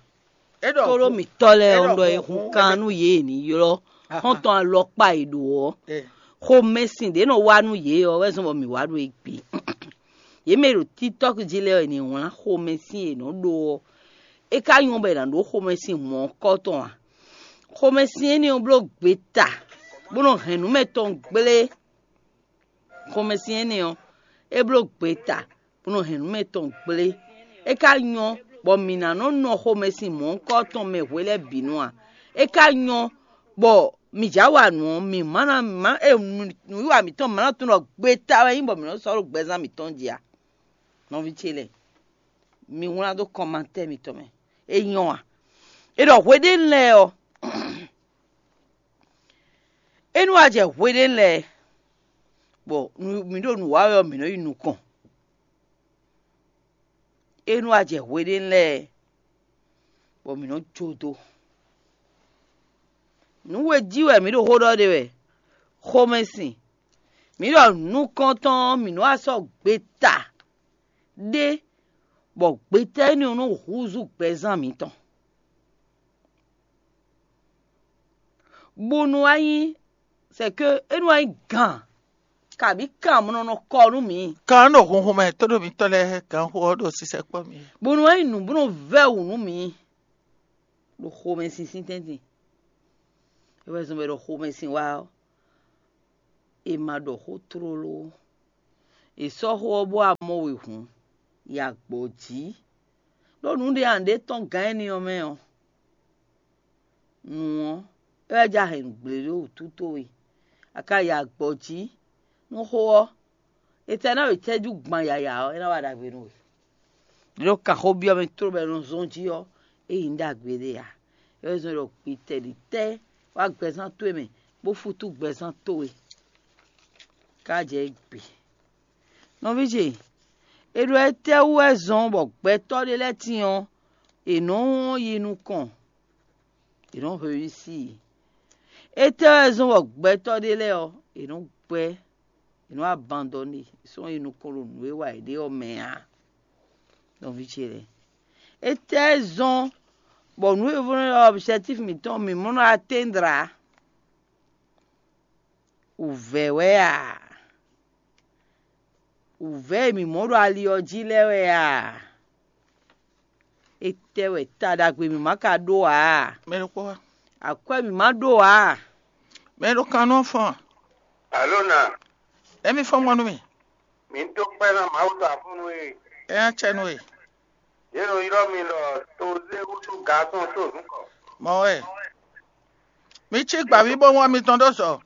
Tóɖó mǐtɔn lɛ́ɛ ɔ́ ɖɔ è hun kan nú yě è nǐ ylɔ́ xɔ́ntɔn alɔkpa e ɖo ɔ́. Xomɛsin ɖě nɔ wá nú yě ɔ́ wɛ zɔ́n bɔ mǐ wá ɖo égbé. Yě mɛ e ɖo TikTɔ́k jí lɛ́ɛ ɔ́, è nǐ wlán xomɛsin e è nɔ ɖó ɔ́. É ka nyɔ́ bɔ è nǎ ɖó xomɛsin mɔ̌hunkɔtɔn a? Xomɛsin énɛ́ ɔ́ bló gbeta, bó nɔ hɛn nǔ mɛ tɔn gblé. Xomɛsin énɛ́ ɔ́, é bló gbeta, bó nɔ hɛn nǔ mɛ tɔn gblé. É ka nyɔ́ bɔ mǐ ná nɔ nɔ xomɛsin mɔ̌hunkɔtɔn mɛ hwe lɛ́ɛ bǐ nu a? É ka nyɔ́ bɔ mǐ já wa nǔ ɔ́, mǐ má ná má e nǔwiwa mǐtɔn má ná tunwun ɖɔ gbeta wɛ nyí bɔ mǐ nɔ sɔ́ ɖo gbɛzán mǐtɔn jí a? Nɔví ce lɛ́ɛ, mi wlán dó kɔnmatɛ́ mitɔn mɛ. É nyɔ́ a? È ɖɔ hweɖénu lɛ́ɛ ɔ́, é nú wá jɛ hweɖénu lɛ́ɛ, bɔ mǐ ɖo nǔ wa wɛ ɔ́, mǐ nɔ yi nukɔn. É nú wá jɛ hweɖénu lɛ́ɛ, bɔ mǐ nɔ jó dó. Nǔ we jí wɛ mǐ ɖo xó ɖɔ ɖe wɛ, xomɛsin. Mǐ ɖɔ nukɔntɔn ɔ́, mǐ nɔ wá sɔ́ gbeta ɖé, bɔ gbeta énɛ́ ɔ́ nɔ húzú gbɛzán mǐtɔn. Bó nú wá nyí, c'est que é nú wá nyí gǎn, kabǐ kan mɔ nɔ kɔ nú mǐ. Kan ɖo hunhun mɛ tóɖó mitɔ́ lɛ́ɛ gǎnxó ɔ́ ɖo sisɛ kpɔ́ mì. Bó nú wá nyí nǔ bó nɔ vɛ́ wǔ nú mǐ ɖo xomɛsin sín tɛ́ntin. É wɛ zɔn bɔ è ɖo xomɛsin wá ɔ́, è ma ɖɔ xó tlóló ó. È sɔ́ xó ɔ́ bó wá mɔ we hǔn, yi agbɔ̌ jí. Ɖó nǔɖé a nǔɖé tɔ́n gǎn énɛ́ ɔ́ mɛ ɔ́, nǔ ɔ́, é wɛ jɛ ahɛ̌nnu gblě ɖó wǔtu towe. A ka yi agbɔ̌ jí nú xó ɔ́, è tɛ ná wě cɛ́jú gban yǎyá ɔ́, é ná wa ɖagbe nú we. Ɖě ɖo kan xó byɔ́ mɛ tlóló bɔ è nɔ zɔ́n jí ɔ́, é nyí nǔ ɖagbe ɖé ǎ. É wɛ zɔ́n ɖɔ gbitɛɖitɛ́ wá gbɛzán towe mɛ, bó fútú gbɛzán towe. Ká jɛ gbe. Nɔví ce, è ɖɔ étɛ́wú wɛ zɔ́n bɔ gbɛtɔ́ ɖé lɛ́ɛ tíin ɔ́, è nɔ́ yi nukɔn, è nɔ́ hwesí i. Étɛ́ wɛ zɔ́n bɔ gbɛtɔ́ ɖé lɛ́ɛ ɔ́, è nɔ́ gbɛ́, è nɔ́ abandɔ́ne, sɔ́ yi nukɔn ɖo nǔ e wa yě ɖe ɔ́ mɛ ǎ. Nɔví ce lɛ́ɛ, étɛ́ zɔ́n bɔ nǔ e vɔ́ nɔ ylɔ́ objectif mǐtɔn mǐ mɔ nɔ atteindre ǎ? Wǔvɛ́ wɛ a? Wǔvɛ́ e mǐ mɔ ɖo ali ɔ́ jí lɛ́ɛ wɛ a? Étɛ́ wɛ ta ɖagbe mǐ ma ka ɖó ǎ? Mɛ ɖokpó wá. Akwɛ́ mǐ ma ɖó ǎ? Mɛ ɖo kan nɔ fɔn. Alo na, Emi fɔn mɔ nú mì. Mǐ dó kpɛ́ ná Mawu ɖo afúnú e. É ná cɛ nú we. Yě nɔ ylɔ́ mi ɖɔ tozé wútu gasɔn tó nǔkɔ. Mɔ wɛ. Mi cí gbǎví bó wán mitɔn ɖó zɔ.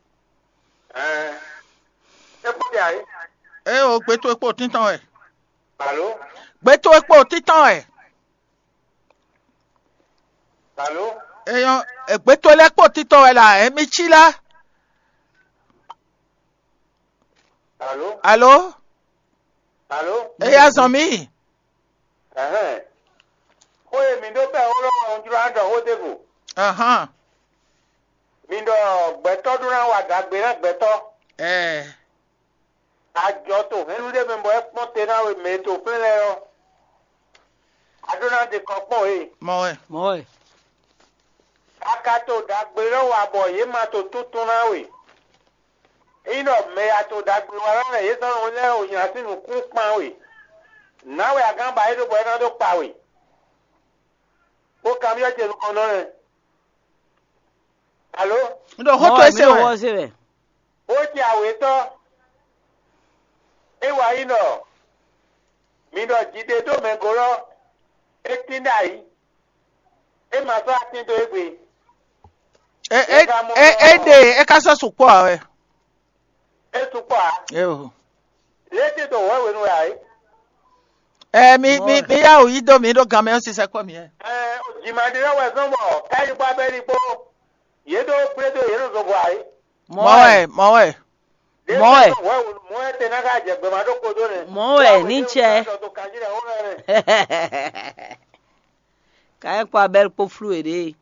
Ɛɛ, é kpó ɖe ayé. Ée o gbé towe kpó tíntɔn wɛ. Alo, Gbé towe kpó tíntɔn wɛ. Alo, Eyɔn, gbé towe lɛ́ɛ kpó tíntɔn wɛ la, ɛ mi cí lá. Alo, Alo, alo. Eya zɔn mì. Ɛhɛn. Xó e mǐ ɖó bɛ́ xó lɔ wɛ un jló ná ɖɔ xó ɖěvo. Ahán. Mi ɖɔ gbɛtɔ́ ɖó ná wa ɖagbe ná gbɛtɔ́. Ɛɛ. Ajɔ to hɛ̌nnu ɖé mɛ bɔ é kpɔ́n te ná we mɛ e to flɛ́n lɛ́ɛ ɔ́, a ɖó ná ɖe kɔ kpɔ́n we. Mɔ wɛ. Mɔ wɛ. A ka to ɖagbe lɔ wa bɔ yě ma to túntún ná we. Ényí ɖɔ mɛ e a to ɖagbe wa lɔ lɛ́ɛ yě zɔ́n nɔ lɛ́ɛ o nyi así nǔkún kpán we. Nǎ wɛ a gán ba é ɖó bɔ é ná dó kpa we. Bó kanbyɔ́ ce nukɔn nɔ lɛ́ɛ. Alo? Un ɖɔ xó towe se wɛ. Xó ce awětɔ́, é wa yí ɖɔ mi ɖɔ jiɖe dó mɛ gólɔ́, é tín ɖ'ayǐ, é ma sɔ́ atín dó égbé. É é é é ɖe é ka sɔ́ sukpɔ́ ǎ wɛ. É sukpɔ́ ǎ. Éo. Lě é tín dó wɛ̌wenu wɛ ǎ é. Ɛ mi mi mi yá wǔ yí dó mi ɖó gan mɛ ɔ́ sisɛ kpɔ́ mi ɛ. Ɛ, jǐma ɖé lɛ́ɛ wɛ zɔ́n bɔ Káyini kpó Abɛ́li kpó yě ɖó gblé dó yě ɖo zogbɔ ǎ é. Mɔ̌ wɛ, mɔ̌ wɛ. Mɔ̌ wɛ. Mɔ̌ wɛ te ná ká jɛ gbɛmɛ ɖó kpódó nɛ́. Mɔ̌ wɛ ní cɛ. Ka é kpó Abɛ́li kpó flú yěɖée.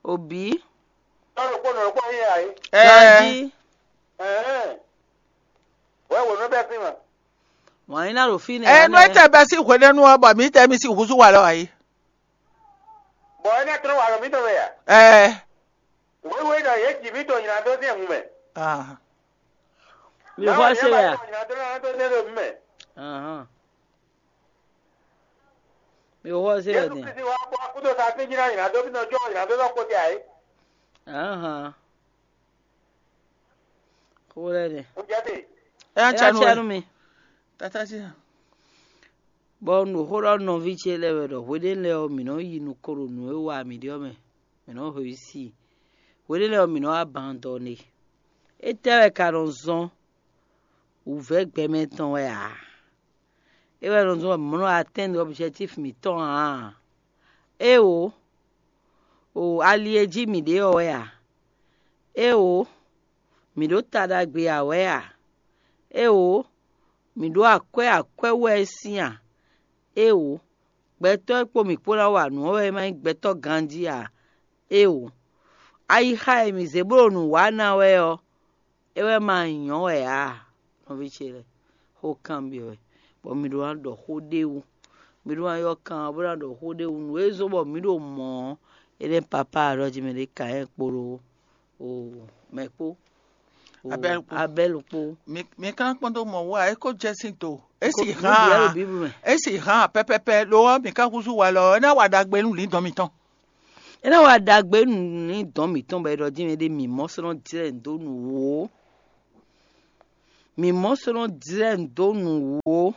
Obǐ. Tɔ́ ɖokpó nɔ ɖokpó nyí ǎ é. Ɛ Ganjí. Ɛhɛn. Wɛ wǒ nɔ bɛ́ fí ma. Wǎn nyí ná ɖo fínɛ́. Ɛ nú é tɛ bɛ́ sín hwenɛ́nu ɔ́, bɔ mǐ tɛ mi sín húzú wa lɔ ǎ é. Bɔ é ná tlɔ́n wa ɖo mǐ tɔn mɛ a? Ɛ Wěwe ɖɔ yě ji mǐ ɖo nylá dó sín hun mɛ. Ah. Mi xɔ se wɛ a? Nylá dó nylá dó dé ɖo mí mɛ. Ahán. Mi xɔ se wɛ Jésù din. Kristi wá kpó akúdo sa fíjí ná nylá dó bí nɔ jɔ nylá dó nɔ kpó tɛ ayé. Ahán. Xó lɛ dɛ. Ń jẹ́ dè. Ɛ Ɛ ná cɛ nú cɛ nú we. Mi. Tata sí. Bɔ nǔxó ɖɔ nɔví ce lɛ́ɛ wɛ ɖɔ hweɖénu lɛ́ɛ ɔ́, mǐ nɔ́ yi nukɔn ɖo nǔ e wa mǐ ɖe ɔ́ mɛ, mǐ nɔ́ hwesí i. Hweɖénu lɛ́ɛ ɔ́, mǐ nɔ́ abandɔne. Étɛ́ wɛ ka nɔ zɔ́n? Wǔvɛ́ gbɛmɛ tɔn wɛ ǎ. É wɛ nɔ zɔ́n bɔ mǐ nɔ́ atɛ́nnu objectif mǐtɔn ǎ. Éeǒ, o ali e jí mǐ ɖe ɔ́ wɛ a? Éeǒ, mǐ ɖó ta ɖagbe ǎ wɛ a? Éeǒ, mǐ ɖó akwɛ́ akwɛ́ wú wɛ é sín a? Éeǒ, gbɛtɔ́ e kpo mǐ kpó ná wa nǔ ɔ́ wɛ é ma nyí gbɛtɔ́ ganjí a? Éeǒ, ayixa e mǐ zé bó ɖo nǔ wa ná wɛ ɔ́, é wɛ ma nyɔ́ wɛ ǎ, nɔví ce lɛ́ɛ, xó kanbyɔ́ wɛ, bɔ mi ɖó ná ɖɔ xó ɖ'é wú. Mi ɖó ná ylɔ́ kan ɔ́ bó ná ɖɔ xó ɖ'é wú. Nǔ e zɔ́n bɔ mǐ ɖo mɔ̌ ɔ́, é nɛ́ papá ɖɔ jí mɛ ɖé Kayɛ́n kpódó o mɛ kpó, o Abɛ́lu kpó. Abɛ́lu kpó. Mi mi ka kpɔ́n dó mɔ wú a? É ko jɛ sín do. É Ko- si nǔ bǐ wɛ ɖo hán. Bíblu mɛ. É si hán pɛpɛpɛ lo ɔ́, mi ka húzú walɔ ɔ́, é ná wa ɖagbe nú lǐndɔn mitɔn. É ná wa ɖagbe nú lǐndɔn mǐtɔn bɔ é ɖɔ dín mɛ ɖé mǐ mɔ sɔ́ nɔ jlɛ́ nǔ dó nǔ wǒ. Mǐ mɔ sɔ́ nɔ jlɛ́ nǔ dó nǔwú ó.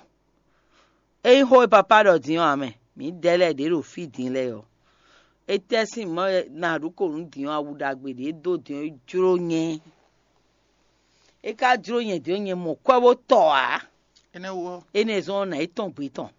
Ényí xó e papá ɖɔ din ɔ́ ǎ mɛ, mǐdɛɛ lɛ́ɛ ɖě ɖo fí din lɛ́ɛ ɔ́, étɛ́ sín mɔ̌ wɛ nǎɖukonú din ɔ́, awu ɖagbe ɖě dó din ɔ́, é jló nyɛ. É ka jló nyɛ din ɔ́, nyɛ mɔ kwɛ́ bó tɔ ǎ. Énɛ́ wú ɔ́, Énɛ́ zɔ́n ɔ́, nǎ yi tɔn gbe tɔn.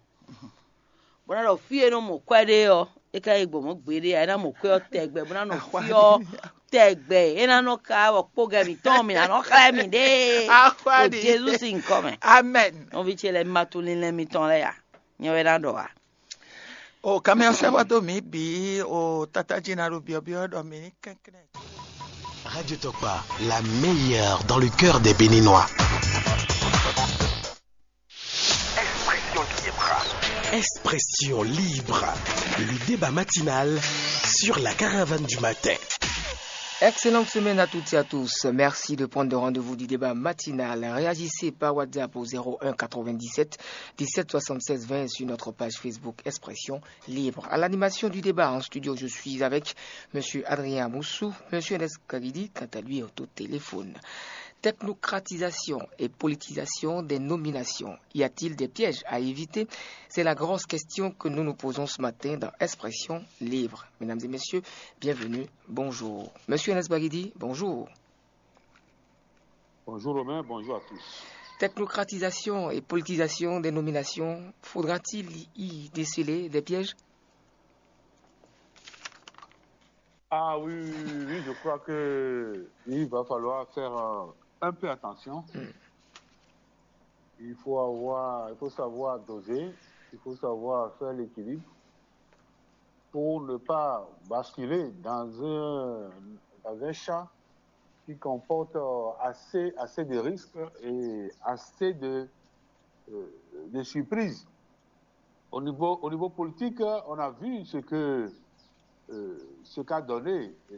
Bó ná ɖɔ fí e nɔ mɔ kwɛ́ ɖe ɔ́, é ka yi gbɔ mɔ̌ gbeɖé ǎ, é ná mɔ kwɛ́ ɔ́ tɛgbɛ, bó ná nɔ fí ɔ́ tɛgbɛ, é ná nɔ ka wɔ kpógɛ mǐtɔn, mǐ ná nɔ xlɛ́ mǐɖée. Ɖo Jezu sín nyǐkɔ mɛ. Amɛn. Nɔví ce lɛ́ɛ, ma tunwun linlɛn mitɔn lɛ́ɛ a? Nyɛ wɛ ná ɖɔ a? O kamɛ ɔ́ sɛ́ bɔ dó mǐ bǐ o tata jí ná ɖo byɔ̌byɔ́ ɖɔ mǐ ní kɛnklɛ́n. Radio Tokpa, la meilleure dans le cœur des Béninois. Expression libre. Expression libre. Le débat matinal sur la caravane du matin. Excellente semaine à toutes et à tous. Merci de prendre le rendez-vous du débat matinal. Réagissez par WhatsApp au zéro un quatre-vingt-dix-sept dix-sept soixante-seize vingt sur notre page Facebook Expression libre. À l'animation du débat en studio, je suis avec Monsieur Adrien Amoussou, Monsieur Enes Kagidi, quant à lui, est au téléphone. Technocratisation et politisation des nominations. Y a-t-il des pièges à éviter ? C'est la grosse question que nous nous posons ce matin dans Expression libre. Mesdames et messieurs, bienvenue. Bonjour. Monsieur Enes Bagidi, bonjour. Bonjour Romain, bonjour à tous. Technocratisation et politisation des nominations, faudra-t-il y déceler des pièges ? Ah oui, oui, oui, oui, je crois que il va falloir faire euh, un peu attention. Hmm. Il faut avoir, il faut savoir doser, il faut savoir faire l'équilibre pour ne pas basculer dans un, dans un champ qui comporte euh, assez, assez de risques et assez de, euh, de surprises. Au niveau, au niveau politique, on a vu ce que euh, ce qu'a donné euh,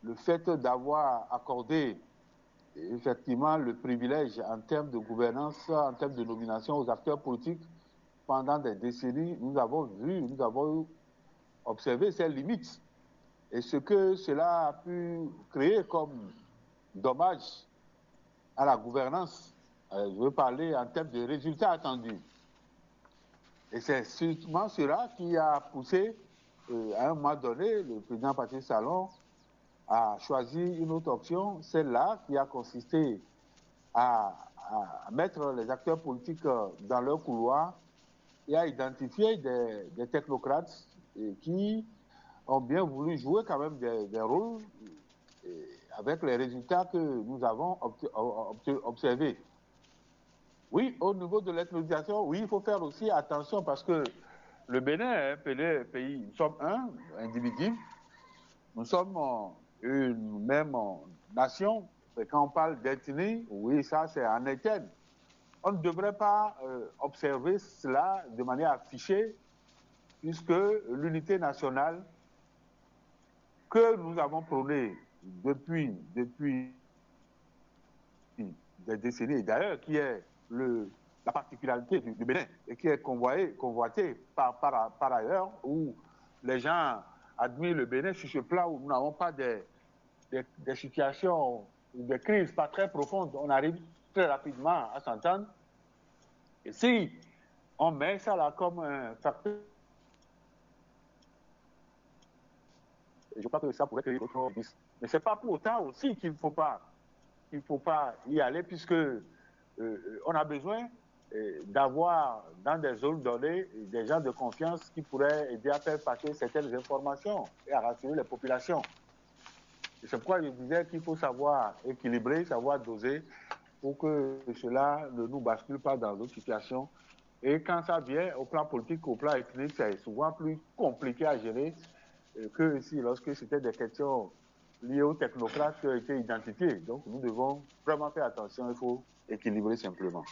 le fait d'avoir accordé effectivement le privilège en termes de gouvernance, en termes de nomination aux acteurs politiques pendant des décennies. Nous avons vu, nous avons observé ses limites et ce que cela a pu créer comme dommage à la gouvernance. Euh, je veux parler en termes de résultats attendus. Et c'est sûrement cela qui a poussé, euh, à un moment donné, le président Patrice Talon à choisir une autre option, celle-là qui a consisté à, à mettre les acteurs politiques euh, dans leur couloir et à identifier des, des technocrates et qui ont bien voulu jouer quand même des, des rôles et avec les résultats que nous avons obte- obte- observés. Oui, au niveau de l'ethnonisation, oui, il faut faire aussi attention parce que le Bénin est un pays, pays- nous sommes un individu, nous sommes euh, une même euh, nation. Et quand on parle d'ethnie, oui, ça c'est en éterne. On ne devrait pas euh, observer cela de manière affichée, puisque l'unité nationale que nous avons prônée depuis, depuis des décennies, et d'ailleurs qui est le, la particularité du, du Bénin, et qui est convoyée, convoitée par, par, par ailleurs, où les gens admirent le Bénin sur ce plan où nous n'avons pas des, des, des situations, des crises pas très profondes. On arrive très rapidement à s'entendre. Et si on met ça là comme un facteur, je crois que ça pourrait créer d'autres risques. Mais ce n'est pas pour autant aussi qu'il ne faut pas, qu'il faut pas y aller, puisque euh, on a besoin euh, d'avoir dans des zones données des gens de confiance qui pourraient aider à faire passer certaines informations et à rassurer les populations. Et c'est pourquoi je disais qu'il faut savoir équilibrer, savoir doser pour que cela ne nous bascule pas dans d'autres situations. Et quand ça vient au plan politique, au plan ethnique, c'est souvent plus compliqué à gérer euh, que si lorsque c'était des questions liées aux technocrates qui ont été identifiées. Donc nous devons vraiment faire attention, il faut équilibrer simplement.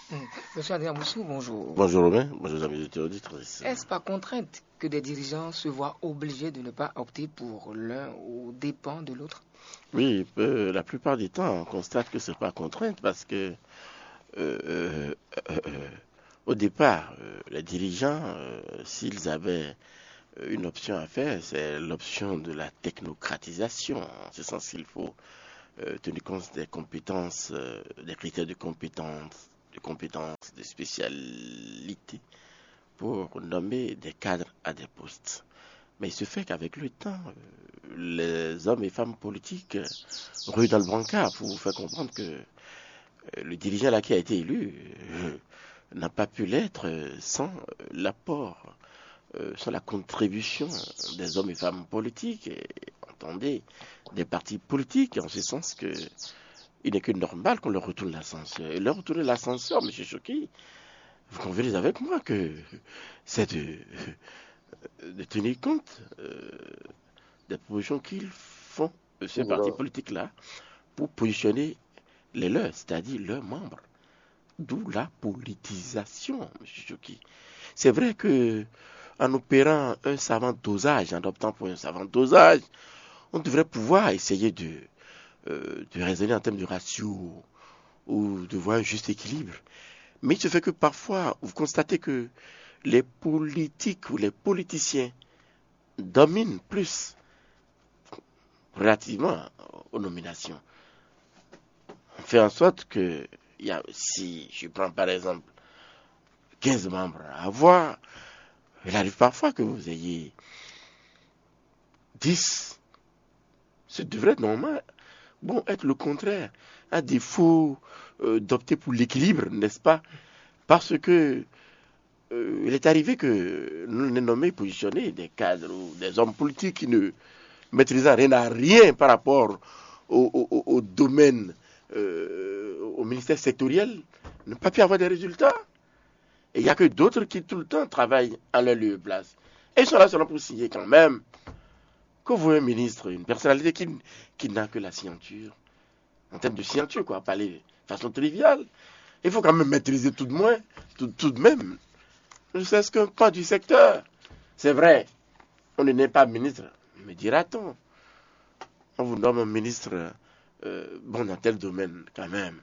Monsieur Adrien Moussou, bonjour. Bonjour Romain, bonjour amis auditeurs auditrices. Est-ce par contrainte que des dirigeants se voient obligés de ne pas opter pour l'un au dépens de l'autre ? Oui, euh, la plupart du temps, on constate que c'est pas contrainte parce que euh, euh, euh, au départ, euh, les dirigeants, euh, s'ils avaient euh, une option à faire, c'est l'option de la technocratisation. C'est ce sens qu'il faut euh, tenir compte des compétences, euh, des critères de compétence, de compétences, de spécialité pour nommer des cadres à des postes. Mais il se fait qu'avec le temps, euh, les hommes et femmes politiques euh, ruent dans le brancard pour vous faire comprendre que euh, le dirigeant là qui a été élu euh, n'a pas pu l'être euh, sans euh, l'apport, euh, sans la contribution des hommes et femmes politiques, et, entendez, des partis politiques, en ce sens que il n'est que normal qu'on leur retourne l'ascenseur. Et leur retourner l'ascenseur, monsieur Choki, vous convenez avec moi que c'est de, de tenir compte euh, des propositions qu'ils font, euh, ces partis politiques-là, pour positionner les leurs, c'est-à-dire leurs membres. D'où la politisation, monsieur Choki. C'est vrai que en opérant un savant dosage, en optant pour un savant dosage, on devrait pouvoir essayer de, euh, de raisonner en termes de ratio ou de voir un juste équilibre. Mais il se fait que parfois, vous constatez que les politiques ou les politiciens dominent plus relativement aux nominations. On fait en sorte que, il y a, si je prends par exemple quinze membres à avoir, il arrive parfois que vous ayez dix. Ce devrait normalement, bon, être le contraire, à défaut euh, d'opter pour l'équilibre, n'est-ce pas? Parce que euh, il est arrivé que nous, on ait nommé, positionné des cadres ou des hommes politiques qui ne maîtrisant rien à rien par rapport au, au- au- au domaine, euh, au ministère sectoriel, n'ont pas pu avoir des résultats. Et il n'y a que d'autres qui tout le temps travaillent à leur lieu et place. Et ils sont là seulement pour signer quand même. Que vous, un ministre, une personnalité qui, qui n'a que la signature, en termes de signature, quoi, parler de façon triviale, il faut quand même maîtriser tout de moins, tout, tout de même, ne serait-ce qu'un pan du secteur. C'est vrai, on ne n'est pas ministre, me dira-t-on. On vous nomme ministre, euh, bon, dans tel domaine, quand même.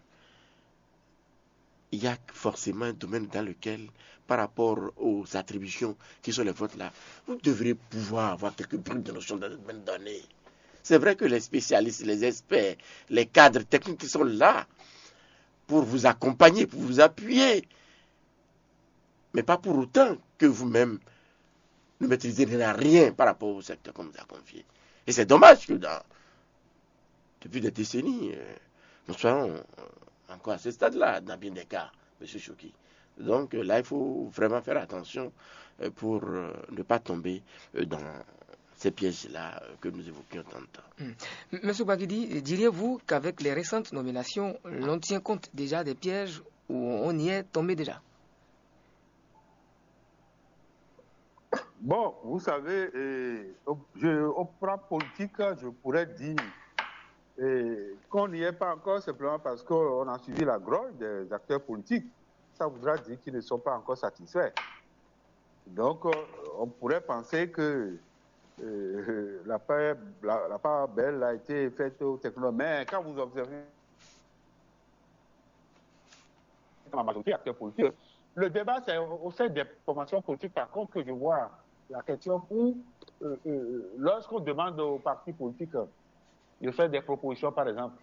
Il y a forcément un domaine dans lequel, par rapport aux attributions qui sont les vôtres là, vous devrez pouvoir avoir quelques bribes de notions dans le domaine donné. C'est vrai que les spécialistes, les experts, les cadres techniques qui sont là pour vous accompagner, pour vous appuyer, mais pas pour autant que vous-même ne maîtrisez rien, rien par rapport au secteur qu'on vous a confié. Et c'est dommage que dans, depuis des décennies, euh, nous soyons euh, encore à ce stade-là, dans bien des cas, monsieur Choki. Donc euh, là, il faut vraiment faire attention euh, pour euh, ne pas tomber euh, dans ces pièges-là euh, que nous évoquions tantôt. Monsieur Baguidi, diriez-vous qu'avec les récentes nominations, l'on tient compte déjà des pièges où on y est tombé déjà? Bon, vous savez, euh, au- je, au plan politique, je pourrais dire euh, qu'on n'y est pas encore simplement parce qu'on a suivi la grogne des acteurs politiques. Ça voudra dire qu'ils ne sont pas encore satisfaits. Donc, euh, on pourrait penser que euh, la, part, la, la part belle a été faite aux technologues. Mais quand vous observez la majorité des acteurs politiques, le débat, c'est au sein des formations politiques, par contre, que je vois la question où, euh, euh, lorsqu'on demande aux partis politiques de faire des propositions, par exemple,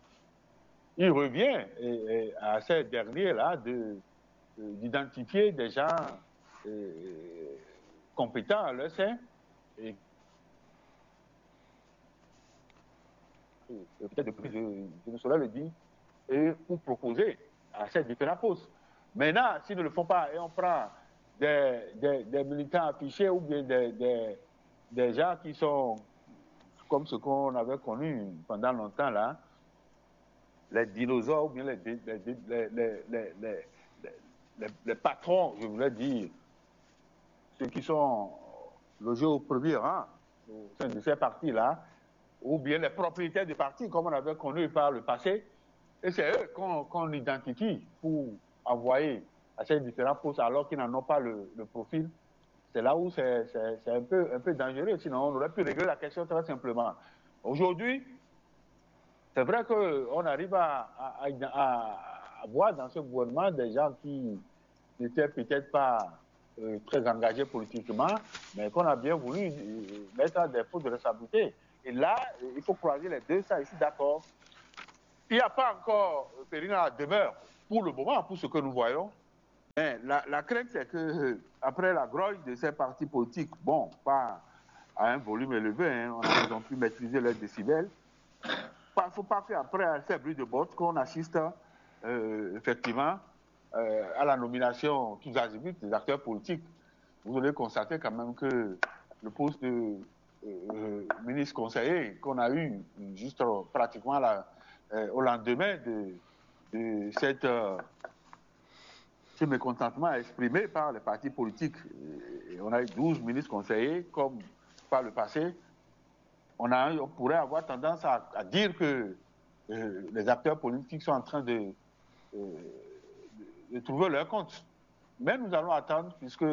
il revient et- et à ces derniers-là de- euh, d'identifier des gens euh, compétents à leur sein et, et peut-être de plus, je, je ne saurais le dire, et pour proposer à ces différents postes. Maintenant, s'ils ne le font pas et on prend des, des- des militants affichés ou bien des, des- des gens qui sont comme ce qu'on avait connu pendant longtemps là, les dinosaures ou bien les, les, les- les- les- les- les- les patrons, je voulais dire, ceux qui sont logés au premier rang au sein de ces partis-là, ou bien les propriétaires des partis, comme on avait connu par le passé. Et c'est eux qu'on qu'on identifie pour envoyer à ces différents postes alors qu'ils n'en ont pas le, le profil. C'est là où c'est c'est- c'est un peu, un peu dangereux. Sinon, on aurait pu régler la question très simplement. Aujourd'hui, c'est vrai qu'on arrive à, à- à- à- à voir dans ce gouvernement des gens qui n'étaient peut-être pas euh, très engagés politiquement, mais qu'on a bien voulu euh, mettre à des postes de responsabilité. Et là, euh, il faut croiser les deux, ça, je suis d'accord. Il n'y a pas encore, euh, Périna, la demeure pour le moment, pour ce que nous voyons. Mais la, la crainte, c'est que, euh, après la grogne de ces partis politiques, bon, pas à un volume élevé, hein, on a, ils ont pu maîtriser leurs décibels. Il ne faut pas qu'après ces bruits de bottes, qu'on assiste, euh, effectivement, euh, à la nomination tous azimuts des acteurs politiques. Vous allez constater quand même que le poste de, euh, ministre conseiller qu'on a eu juste, euh, pratiquement là, euh, au lendemain de, de cette, euh, ce mécontentement exprimé par les partis politiques. Et on a eu douze ministres conseillers, comme par le passé. On a, on pourrait avoir tendance à, à dire que, euh, les acteurs politiques sont en train de, euh, de trouver leur compte. Mais nous allons attendre, puisque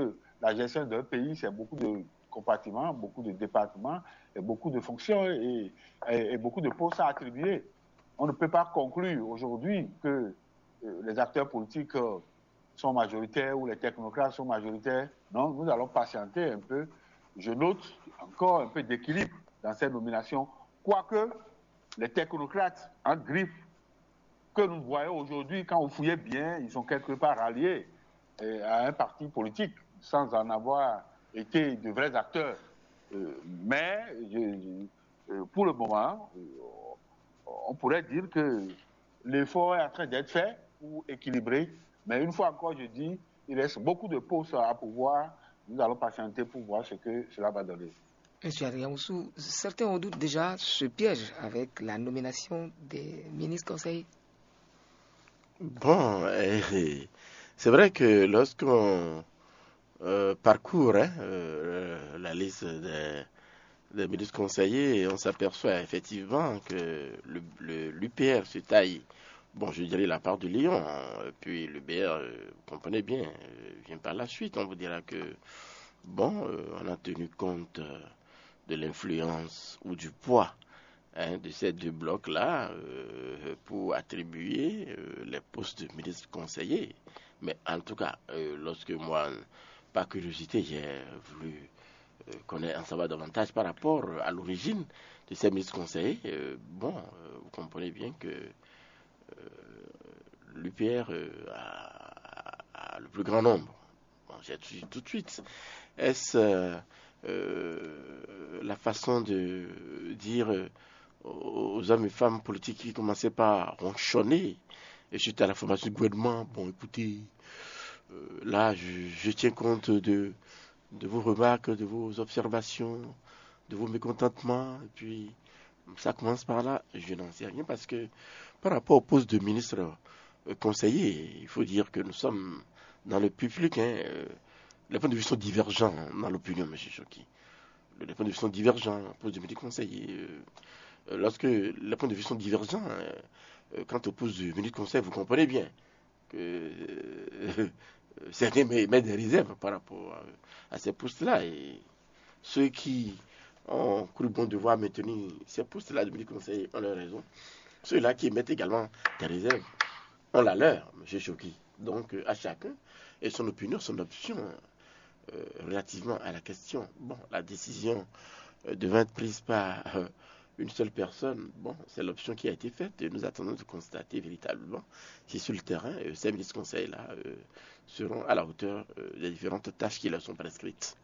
la gestion d'un pays, c'est beaucoup de compartiments, beaucoup de départements, et beaucoup de fonctions et, et- et beaucoup de postes à attribuer. On ne peut pas conclure aujourd'hui que, euh, les acteurs politiques, euh, sont majoritaires ou les technocrates sont majoritaires. Non, nous allons patienter un peu. Je note encore un peu d'équilibre dans ces nominations, quoique les technocrates en griffe que nous voyons aujourd'hui, quand vous fouillez bien, ils sont quelque part ralliés, euh, à un parti politique sans en avoir été de vrais acteurs. Euh, mais je- je- euh, pour le moment, euh, on pourrait dire que l'effort est en train d'être fait pour équilibrer. Mais une fois encore, je dis, il reste beaucoup de postes à pouvoir. Nous allons patienter pour voir ce que cela va donner. Monsieur Adrien Oussou, certains redoutent déjà ce piège avec la nomination des ministres conseillers. Bon, eh, c'est vrai que lorsqu'on euh, parcourt, hein, euh, la liste des, des ministres conseillers, on s'aperçoit effectivement que le, le- l'U P R se taille, bon, je dirais la part du lion, hein, et puis l'U P R, euh, vous comprenez bien, euh, vient par la suite. On vous dira que, bon, euh, on a tenu compte euh, de l'influence ou du poids, hein, de ces deux blocs-là, euh, pour attribuer euh, les postes de ministres conseillers. Mais en tout cas, euh, lorsque moi, par curiosité, j'ai voulu euh, connaître, en savoir davantage par rapport à l'origine de ces ministres conseillers, euh, bon, euh, vous comprenez bien que euh, l'U P R euh, a, a le plus grand nombre. Bon, j'ai tout, tout de suite. Est-ce euh, euh, la façon de dire euh, aux hommes et femmes politiques qui commençaient par ronchonner et suite à la formation du gouvernement, bon, écoutez, euh, là, je, je tiens compte de, de vos remarques, de vos observations, de vos mécontentements, et puis ça commence par là, je n'en sais rien parce que par rapport au poste de ministre euh, conseiller, il faut dire que nous sommes dans le public, hein, euh, les points de vue sont divergents dans l'opinion, monsieur Choki. Les points de vue sont divergents au poste de ministre conseiller. Euh, euh, lorsque les points de vue sont divergents, euh, euh, quant au poste de ministre conseiller, vous comprenez bien que euh, certains met- mettent des réserves par rapport à, à ces postes-là. Et ceux qui ont cru bon devoir maintenir ces postes-là de ministre conseiller ont leur raison. Ceux-là qui émettent également des réserves ont la leur, monsieur Choki. Donc, euh, à chacun et son opinion, son option euh, relativement à la question. Bon, la décision euh, devant être prise par euh, une seule personne, bon, c'est l'option qui a été faite. Et nous attendons de constater véritablement si sur le terrain, euh, ces ministres conseillers-là euh, seront à la hauteur euh, des différentes tâches qui leur sont prescrites.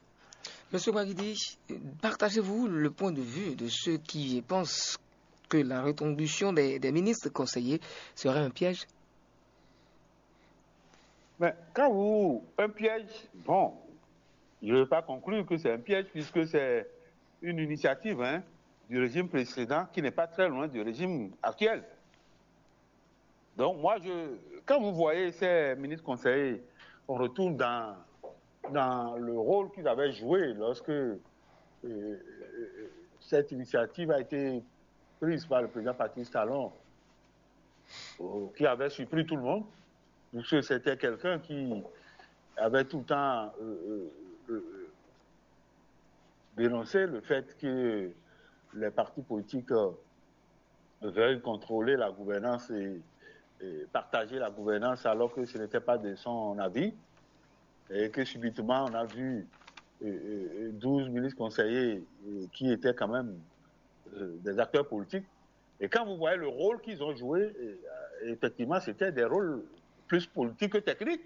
Monsieur Baguidi, partagez-vous le point de vue de ceux qui pensent que la reconduction des, des ministres conseillers serait un piège? Mais quand vous, un piège, bon, je ne veux pas conclure que c'est un piège puisque c'est une initiative, hein, du régime précédent qui n'est pas très loin du régime actuel. Donc moi, je, quand vous voyez ces ministres conseillers, on retourne dans, dans le rôle qu'ils avaient joué lorsque euh, euh, cette initiative a été prise par le président Patrice Talon, euh, qui avait surpris tout le monde, puisque c'était quelqu'un qui avait tout le temps euh, euh, euh, dénoncé le fait que les partis politiques euh, veuillent contrôler la gouvernance et, et partager la gouvernance alors que ce n'était pas de son avis. Et que subitement, on a vu euh, euh, douze ministres conseillers euh, qui étaient quand même euh, des acteurs politiques Et quand vous voyez le rôle qu'ils ont joué, euh, effectivement, c'était des rôles plus politiques que techniques.